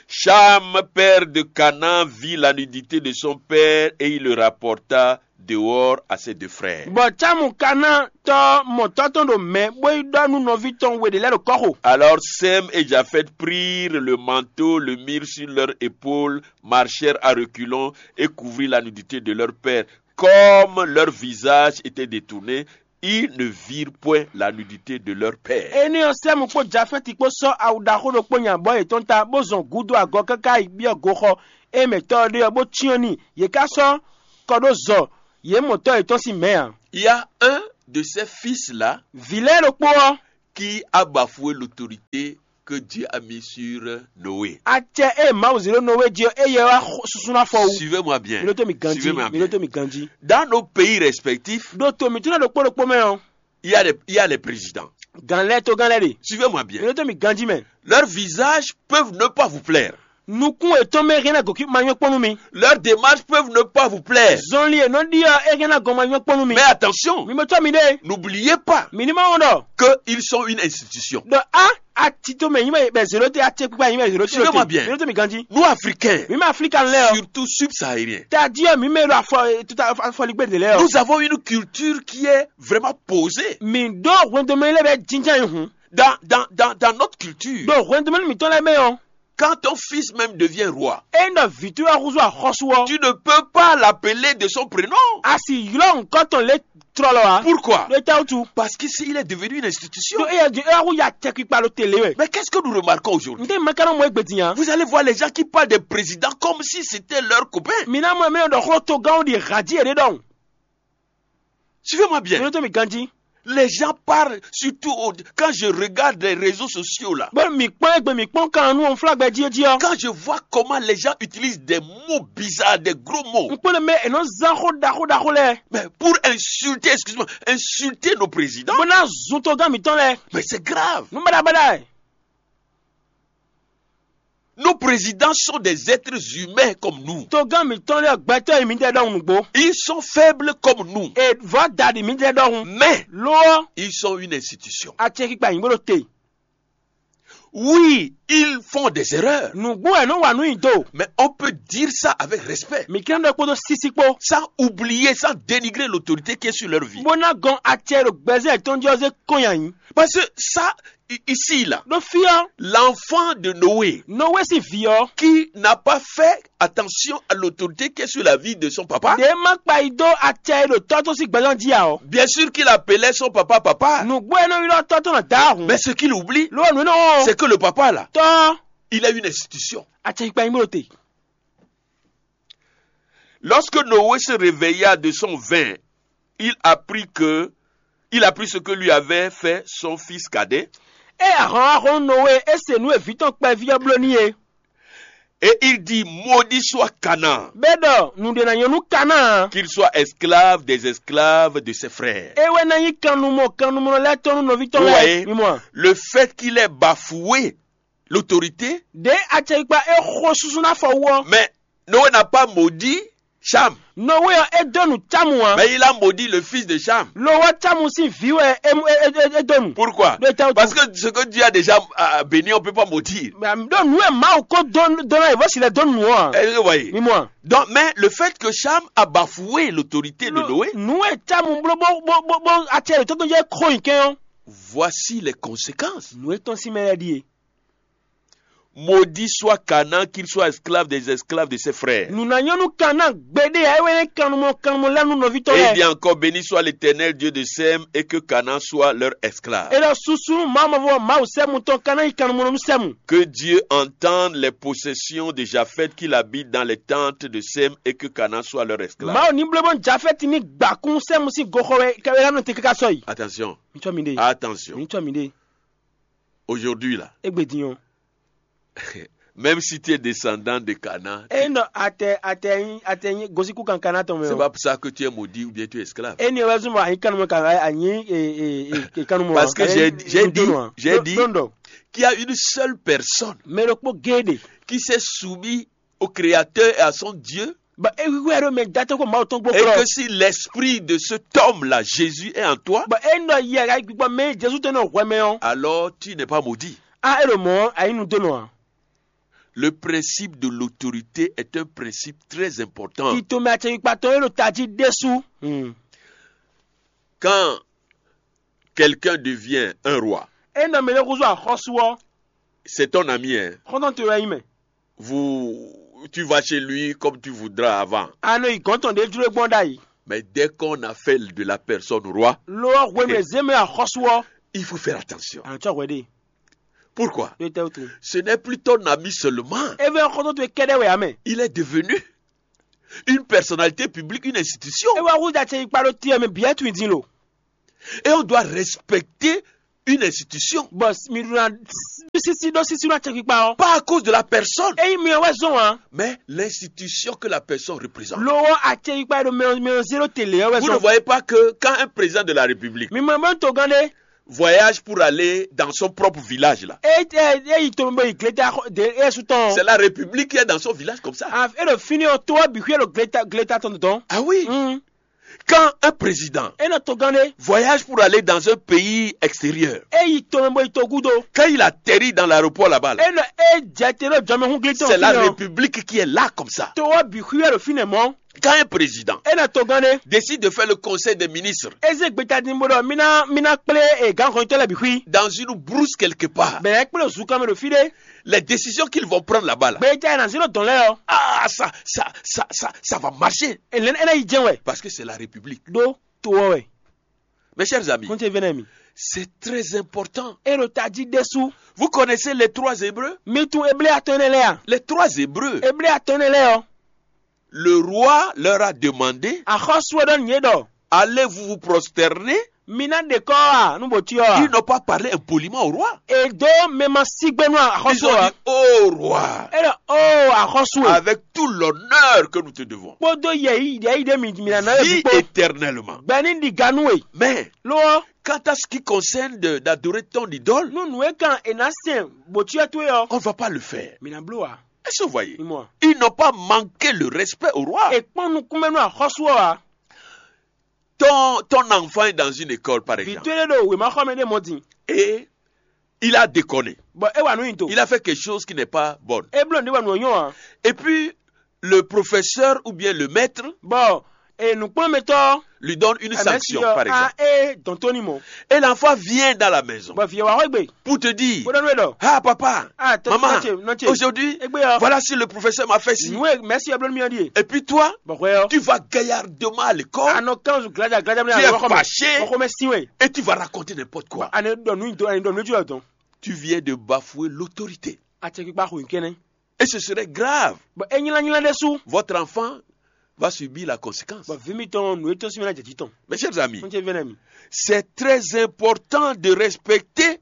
Cham, père de Canaan, vit la nudité de son père et il le rapporta dehors à ses deux frères. Bɔ Cámu Kaná tɔ́ mɔ tɔ́ tɔn ɖo mɛ bó yi ɖɔ nú nɔví tɔn we ɖě lɛ́ɛ ɖo kɔ́xo. Alors Sem et Japheth prirent le manteau, le mirent sur leur épaule, marchèrent à reculons et couvrirent la nudité de leur père. Comme leur visage était détourné, ils ne virent point la nudité de leur père. Énɛ́ ɔ́, Sɛ́mu kpó Jafɛ́ti kpó sɔ́ awu ɖaxó ɖokpó nyi abɔ̌ yětɔn ta, bó zɔn gǔdo agɔ káká yi byɔ́ goxɔ e mɛ tɔ́ ɔ́ ɖe ɔ́, bó cyɔ́n n'i. Yě ká sɔ́ kɔ ɖó zɔ yě mɔ tɔ́ yětɔn sín mɛ̌ ǎ. Il y a un de ces fils-là Vǐ lɛ́ɛ ɖokpó ɔ́, qui a bafoué l'autorité que Dieu a mise sur Noé. acɛ e Mawu zě ɖó Nɔwée jí ɔ́, éyɛ́ wá xo- susu ná fɔ wú. Suivez-moi bien. Mi ɖó tó mi ganjí, Suivez-moi mi bien. Ɖó tó mi ganjí. Dans nos pays respectifs, Ɖó to mǐtɔn lɛ́ɛ ɖokpó ɖokpó mɛ ɔ́, il y a les, il y a les présidents. gǎn lɛ́ɛ togán lɛ́ɛ ɖe. Suivez-moi Mi bien. Ɖó tó mi ganjí mɛ. Leurs visages peuvent ne pas vous plaire. Nukún yětɔn mɛ hɛn ná gɔ̌kí ma nyɔ́ kpɔ́n nú mi. Leurs démarches peuvent ne pas vous plaire. Zɔnlin e nɔ ɖi ɔ́, é hɛn ná gɔn ma nyɔ́ kpɔ́n nú mi. Mais attention, Mi mɔ tɔ́ mi ɖe. N'oubliez pas Mi ní ma wɔn ɖɔ. Qu'ils sont une institution. Ɖɔ a atito mɛ nyí mɛ bɛ zéro te, acɛ kpíkpá nyí mɛ zéro te. Suivez-moi bien. Mi ɖó tó mi ganjí. Nous, Africains, Mi mɛ Aflika lɛ ɔ. Surtout subsahariens, Tadi ɔ mi mɛ ɖo afɔ tuta afɔligbe de lɛ ɔ. Nous avons une culture qui est vraiment posée. Mi ɖó hwɛndɔmɛ lɛ bɛ jinjɛn yi hun. Dans, dans, dans, dans notre culture, Ɖo hwɛndɔmɛ mi tɔn lɛ mɛ ɔ. Quand ton fils même devient roi, E nɔ vitu ya huzu axɔsu ɔ. Tu ne peux pas l'appeler de son prénom. A si ylɔ nkɔ tɔn le trɔlɔ a. Pourquoi? Ɖo ta wutu. Parce que s'il est devenu une institution. Ɖo eya di eya hu ya tɛ kpikpa ɖo tele wɛ. Mais qu'est-ce que nous remarquons aujourd'hui? N tɛ maka nɔ mɔ egbe din ya. Vous allez voir les gens qui parlent des présidents comme si c'était leur copain. Mi na mɔ mɛ ɖɔ xlɔ to gãwo ɖi hadi yɛ ɖe ɖɔn. Suivez-moi Mi bien. ɖo to mi ganji. Les gens parlent surtout au- quand je regarde les réseaux sociaux là. Bɔ mi kpɔn egbe mi kpɔn kan nu fla gbɛ ji ji ɔ. Quand je vois comment les gens utilisent des mots bizarres, des gros mots, N kpɔn mɛ enɔ zan xɔ ɖaxo ɖaxo lɛ. mais pour insulter, excuse-moi, insulter nos présidents, Bɔ na zun to gã mi tɔn lɛ. Mais c'est grave. Nu bada bada. Nos présidents sont des êtres humains comme nous. To gã mi tɔn lɛ gbɛtɔ yi mi tɛ ɖɔhun nugbo. Ils sont faibles comme nous. E vɔ da di mi tɛ ɖɔhun. Mais Lo ɔ, ils sont une institution. Atse kikpa yi bolo te. Oui, ils font des erreurs. Nugbo ɛ nɔ wa nu yi do. Mais on peut dire ça avec respect. Mi kɛn ɖɔ kpodo sisi kpo. Sans oublier, sans dénigrer l'autorité qui est sur leur vie. Bo na gɔn atse ɖo gbɛzɛ tɔn jɔ ze kɔn ya yi. Parce que ça, i- ici, là, Ɖo fi ɔ, l'enfant de Noé Nowe si vi ɔ. qui n'a pas fait attention à l'autorité qui est sur la vie de son papa. Ɖe ma kpa yi do atse ɖo tɔ tɔn si gbɛzɔn ji a ɔ. Bien sûr qu'il appelait son papa papa. Nugbo ɛ nɔ yi ɖɔ tɔ tɔn na da ahun. Mais ce qu'il oublie, Lo nu nɔ. C'est que le papa là, Tɔ il a une institution. Atse kpa yi bolo te. Lorsque Noé se réveilla de son vin, il apprit que, il apprit ce que lui avait fait son fils cadet. E ahɔn ahɔn Nowe e se nu evi tɔn kpɛvi ɔ blo ni ye. Et il dit, maudit soit Canaan, Bɛ́ ɖɔ nǔɖé ná nyɔ́ nú Kanáa. Qu'il soit esclave des esclaves de ses frères. É wɛ ná nyí kannumɔ kannumɔ lɛ́ɛ tɔn nú nɔví tɔn Vous lɛ́ɛ. Voyez, mi mɔ a? Le fait qu'il ait bafoué l'autorité, Ɖě acɛkpikpa é xo susu ná fɔ wú ɔ́. Mais Noé n'a pas maudit Cham. Nɔwe ɔ́, é dó nǔ Camu ǎ. Mais il a maudit le fils de Cham. Lo ɔ́, Camu sín vǐ wɛ é é é é dó nǔ. Pourquoi? Ɖó é tɛ́ wútu? Parce que ce que Dieu a déjà, euh, béni, on ne peut pas maudire. Ɖó nǔ e Mawu ko dó dó ná yi vɔ̌ si lɛ dó nǔ ɔ́ ǎ. Est-ce que vous voyez? Mi mɔ a? Donc, mais le fait que Cham a bafoué l'autorité de Noé, Nǔ e Camu bló bó bó bó bó acɛ yětɔn tɔn jɛ xo nyi kɛn ɔ́. Voici les conséquences. Nǔ e tɔn sín mɛ lɛ́ɛ ɖíe. Maudit soit Canaan, qu'il soit esclave des esclaves de ses frères. Nǔ ná nyɔ́ nú Kanáa gbeɖé ǎ, é wɛ nyí kannumɔ kannumɔ lɛ́ɛ nú nɔví tɔn Et il dit lɛ́ɛ. Encore, béni soit l'Éternel Dieu de Sem, et que Canaan soit leur esclave. É ɖɔ susu nú Mawu mavɔ Mawu Sɛ́mu tɔn ka ná nyí kannumɔ nú Sɛ́mu. Que Dieu entende les possessions de Japheth, qu'il habite dans les tentes de Sem, et que Canaan soit leur esclave. Mawu ní bló bɔ Jafɛ́ti ní gbakún Sɛ́mu sín goxɔ wɛ wɛ ná nɔ te káká sɔ́ yi. Attention, Mi tsɔ mi ɖe. Attention. Mi tsɔ mi ɖe. Aujourd'hui là, Égbé din ɔ́. Même si tu es descendant de Canaan, É nɔ atɛ atɛ nyi atɛ nyi gosíkú kankan ná tɔn mɛ c'est ɔ́. Pas pour ça que tu es maudit ou bien tu es esclave. É ni wɛ zɔn bɔ anyi kanu mɛ kan anyi e e e kanu mɔ. Parce que j'ai j'ai dit, j'ai dit qu'il y a une seule personne Mɛ ɖokpó géɖe. Qui s'est soumis au Créateur et à son Dieu. Bɔ é wíwú ɛɖo mɛ datɔ ko Mawu tɔn gbó Et kplɔ. Que si l'esprit de cet homme-là, Jésus, est en toi, Bɔ é nɔ yɛ ka gbígbɔ mɛ Jesu tɔn nɔ hwɛ mɛ ɔ́. Alors tu n'es pas maudit. A é ɖo mɔ̌ ayi nu dó nɔ ǎ. Le principe de l'autorité est un principe très important. Tito mɛ acɛkpikpa tɔn é ɖo tají ɖésú. Hmm. Quand quelqu'un devient un roi, É nɔ mɛ ɖé húzú axɔ́sú ɔ́. C'est ton ami, hein. Xɔ́ntɔn towe wɛ nyí mɛ. Vous, tu vas chez lui comme tu voudras avant. A nɔ yi gɔ̌n tɔn ɖě jló gbɔn ɖ'ayǐ. Mais dès qu'on a fait de la personne roi, Lo ɔ́ hwenu e zé mɛ axɔ́sú ɔ́. Il faut faire attention. A nɔ tsɔ hwɛ ɖe. Pourquoi? Ɖo tɛ́ wútu. Ce n'est plus ton ami seulement. É vɛ xɔ́ntɔn towe kɛ́ɖɛ́ wɛ ǎ mɛ. Il est devenu une personnalité publique, une institution. É wá húzú acɛkpikpa ɖó tiyɛ mɛ bǐ wɛ tunwun din lo. Et on doit respecter une institution. Bɔ mi ɖo na sisi ɖó sisi ɖó acɛkpikpa ɔ́. Pas à cause de la personne. Eyi mi ɔ́ wɛ zɔn ǎ. Mais l'institution que la personne représente. Lo ɔ́ acɛkpikpa e ɖo mɛ mɛ zé ɖó te lě ɔ́ wɛ zɔn. Vous ne voyez pas que quand un président de la République. Mi mɔ bɔ togán ɖé. Voyage pour aller dans son propre village là. E e e yi to bɔ yi gleta de e su tɔn. C'est la République qui est dans son village comme ça. A e ɖo fini ɔ́ to ɔ́ bi xwé ɖo gleta gleta tɔn tɔn. Ah oui. Mm. Quand un président E nɔ togán ɖé. Voyage pour aller dans un pays extérieur, E yi to mɛ bɔ yi to gúdo. Quand il atterrit dans l'aéroport là-bas, là, E nɔ e jɛ te ɖo jɔmɛhún glitɔn. C'est la République qui est là comme ça. To ɔ́ bi xwé ɖo fínɛ́ mɔ́. Quand un président E nɔ togán ɖé. Décide de faire le conseil des ministres E zé gbeta din bó ɖɔ mí ná mí ná kplé e gǎn hɔnyitɔ́ lɛ́ɛ bǐ xwí. Dans une brousse quelque part, Bɛ̌ kplé zunkan mɛ ɖo fí ɖé. Les décisions qu'ils vont prendre là-bas là, Gbeta e nǎ zé ɖo dɔn lɛ́ɛ ɔ́. Ah, ça, ça, ça, ça, ça va marcher. E lɛ́ e ná yi jɛ́n wɛ. Parce que c'est la République. Ɖó to ɔ́ wɛ. Mes chers amis, Kɔn ce vɛ́nɛ mi. C'est très important. E ɖo tají ɖésú. Vous connaissez les trois Hébreux? Mi tunwun Eblé atɔn énɛ́ lɛ́ɛ a? Les trois Hébreux. Eblé atɔn énɛ́ lɛ́ɛ ɔ́. Le roi leur a demandé, Axɔ́sú ɔ́ ɖɔ nǔ yě ɖɔ. Allez-vous vous prosterner? Mi ná ɖe kɔ́ a nú bǒcyɔ a? Ils n'ont pas parlé impoliment au roi. E dó mɛ ma sí gbé nú axɔ́sú Ils ont a. Dit, oh roi, E ɖɔ o axɔ́sú e. Avec tout l'honneur que nous te devons, Kpódó yɛ̌yi yɛ̌yi ɖé mi mi ná ná vis kpó. Éternellement. Gbɛ ní ɖi ga nú we. Mais Lo ɔ́, quant à ce qui concerne de- d'adorer ton idole, nú nǔ e kan è nǎ sɛn bǒcyɔ towe ɔ́. On ne va pas le faire. Mi ná bló a. Est-ce que vous voyez? Mi mɔ a. Ils n'ont pas manqué le respect au roi. È kpɔ́n nukúnmɛ nú axɔ́sú ɔ́ a. Ton, ton enfant est dans une école, par Vǐ exemple, towe ɖé ɖo wěmaxɔmɛ ɖé mɔ din. Et il a déconné. Bɔ é wa nǔ nyi to. Il a fait quelque chose qui n'est pas bon. É bló nǔɖé wɛ nǔ ɔ́ nyɔ́ a. Et puis, le professeur ou bien le maître Bɔ e nǔkplɔ́nmɛtɔ́ lui donne une sanction, par exemple. A é dɔn tó ní mɔ. Et l'enfant vient dans la maison Bɔ vǐ ɔ́ wá xɔ gbe. Pour te dire, bó ɖɔ nú ɛ ɖɔ. Ah papa, ah, maman, nɔ ce, nɔ ce. Aujourd'hui, égbé ɔ́. Voilà ce que le professeur m'a fait ci. Nǔ e mɛ̌si ɔ́ bló nú mì ɔ́ ɖíe. Et puis toi, bɔ hwɛ ɔ́. Tu vas gaillardement à l'école. A nɔ kán zu glaja glaja mɛ. Tu es fâché. Bɔ xɔmɛ sin wɛ. Et tu vas raconter n'importe quoi. A nɛ ɖɔ nǔ nyi dɔn a nɛ ɖɔ nǔ jɔ dɔn. Tu viens de bafouer l'autorité. Acɛkpikpa xo nyi kɛnɛ. Et ce serait grave. Bɔ é nylá nylá ɖésú. Votre enfant va subir la conséquence. Bɔ vǐ mitɔn nǔ e tɔ́n sín mɛ ná jɛ jǐ tɔn. Mes chers amis, N ce vɛ́nɛ mi. C'est très important de respecter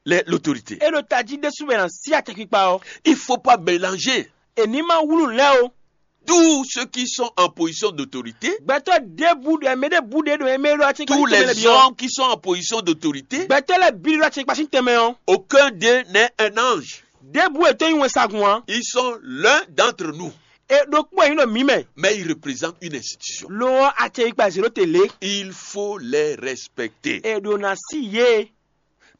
les- l'autorité. É ɖo tají ɖésú wɛ ná sí acɛkpikpa ɔ́. Il faut pas mélanger. È ní ma wlú lɛ́ o. Tous ceux qui sont en position d'autorité, Gbɛtɔ́ ɖěbǔ ɖo ɛmɛ ɖěbǔ ɖě ɖo ɛmɛ ɖo acɛkpikpa tous sín tɛnmɛ les lɛ́ bǐ ɔ́. Hommes qui sont en position d'autorité, Gbɛtɔ́ lɛ́ɛ bǐ ɖo acɛkpikpa sín tɛnmɛ ɔ́. Aucun d'eux n'est un ange. Ɖěbǔ è tɔ́ nyí wɛnsagun ǎ. Ils sont l'un d'entre nous, É ɖokpó e nyí ɖo mǐ mɛ. Mais ils représentent une institution. Lo ɔ́, acɛkpikpa zě ɖó te lě. Il faut les respecter. È ɖo ná sí yě.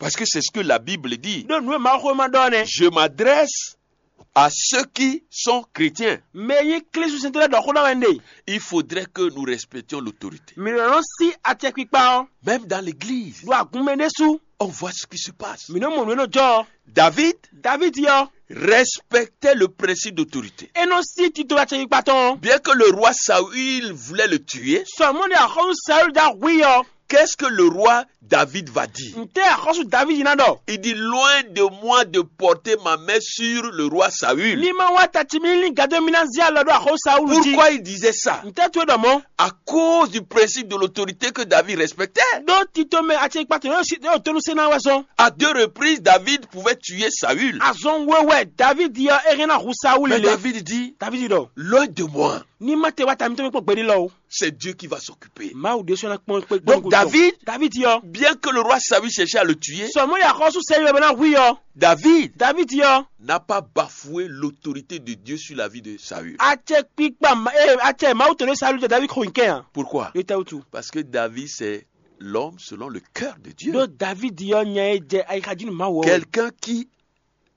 Parce que c'est ce que la Bible dit. Ɖó nǔ e Mawuxówéma ɖɔ ɔ́ nɛ́. Je m'adresse à ceux qui sont chrétiens. Mɛ e nyí Klísu sɛntɔ́ lɛ́ɛ ɖɔ xó ná wɛ un ɖe. Il faudrait que nous respections l'autorité. Mǐ nɔ nɔ sí acɛkpikpa ɔ́. Même dans l'église, Ɖo agun mɛ ɖésú. On voit ce qui se passe. Mǐ nɔ mɔ nǔ e nɔ jɔ ɔ́. David Davidi ɔ́, respectait le principe d'autorité. É nɔ sí tito acɛkpikpa tɔn ɔ́. Bien que le roi Saül voulait le tuer, Sɔmɔ́ni axɔ́sú Saúl dó ahwí ɔ́. Qu'est-ce que le roi David va dire? Ntɛ́ axɔ́sú Davidi ná ɖɔ? Il dit, loin de moi de porter ma main sur le roi Saül. Ní má wá ta ci mì lín gado mì ná zé alɔ ɖó axɔ́sú Saúl jí. Pourquoi il disait ça? Ntɛ́ towe ɖɔ mɔ̌? À cause du principe de l'autorité que David respectait. Ɖó tito mɛ acɛkpikpa tɔn yóò tónú sɛ́ ná wɛ zɔn. À deux reprises, David pouvait tuer Saül. Azɔn we wɛ Davidi ɔ́ é hɛn ná hu Saúl. Mais lé. David dit, Davidi ɖɔ, loin de moi. Ní má te wá ta mitɔn mɛ kpɔ́n gbeɖé lɔ o. C'est Dieu qui va s'occuper. Mawu ɖésú ná kpɔn kpé Donc, David, Davidi ɔ́. Bien que le roi Saül cherchait à le tuer, Sɔmɔ́li axɔ́sú Saúl bɛ ná hu i ɔ́. David Davidi ɔ́. N'a pas bafoué l'autorité de Dieu sur la vie de Saül. Acɛkpikpa ma- ee acɛ Mawu tɔn ɖé Saúl jɛ Davidi xo nyikɛ a? Pourquoi? Ɖo tɛwutu. Parce que David, c'est l'homme selon le cœur de Dieu. Ɖó Davidi ɔ́ nya e jɛ ayixa jí nú Mawu ɔ́. Quelqu'un qui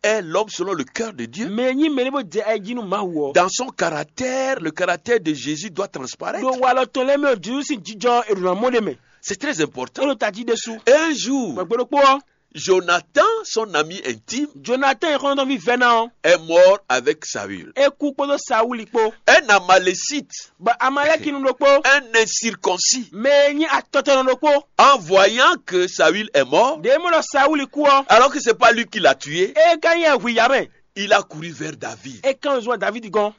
est l'homme selon le cœur de Dieu. Mɛ e nyí mɛ ɖé bó jɛ ayi jí nú Mawu ɔ́. Dans son caractère, le caractère de Jésus doit transparaître. Ɖo walɔ tɔn lɛ́ɛ mɛ ɔ́, Jezu sín jijɔ è ɖǒ ná mɔ ɖé mɛ. C'est très important. É ɖo tají ɖésú. Un jour, Gbɛgbɛ ɖokpó ɔ́, Jonathan, son ami intime, Jonathan e xɔ́ntɔn vívɛ́ ná ɔ́, Est mort avec Saül. É kú kpódó Saúli kpó. Un Amalécite, Bɔ Amalɛ́kinu ɖokpó, Un incirconcis, mɛ e nyí atɔtɔnɔ ɖokpó, En voyant que Saül est mort, ɖě mɔ ɖɔ Saúli kú ɔ́, Alors que c'est pas lui qui l'a tué, é ka nyí ɛhwǐ ya mɛ. Il a couru vers David. É kán zɔn Davidi gɔ́n.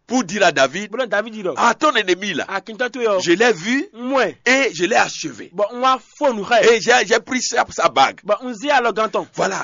Pour dire à David, Bó ɖɔ Davidi ɖɔ, à ton ennemi là, akintɔ towe ɔ́, Je l'ai vu, un mɔ ɛ, Et je l'ai achevé. Bɔ un wá fó nǔ xá ɛ. Et j'ai j'ai pris sa, sa bague. Bɔ un zé alɔgán tɔn. Voilà.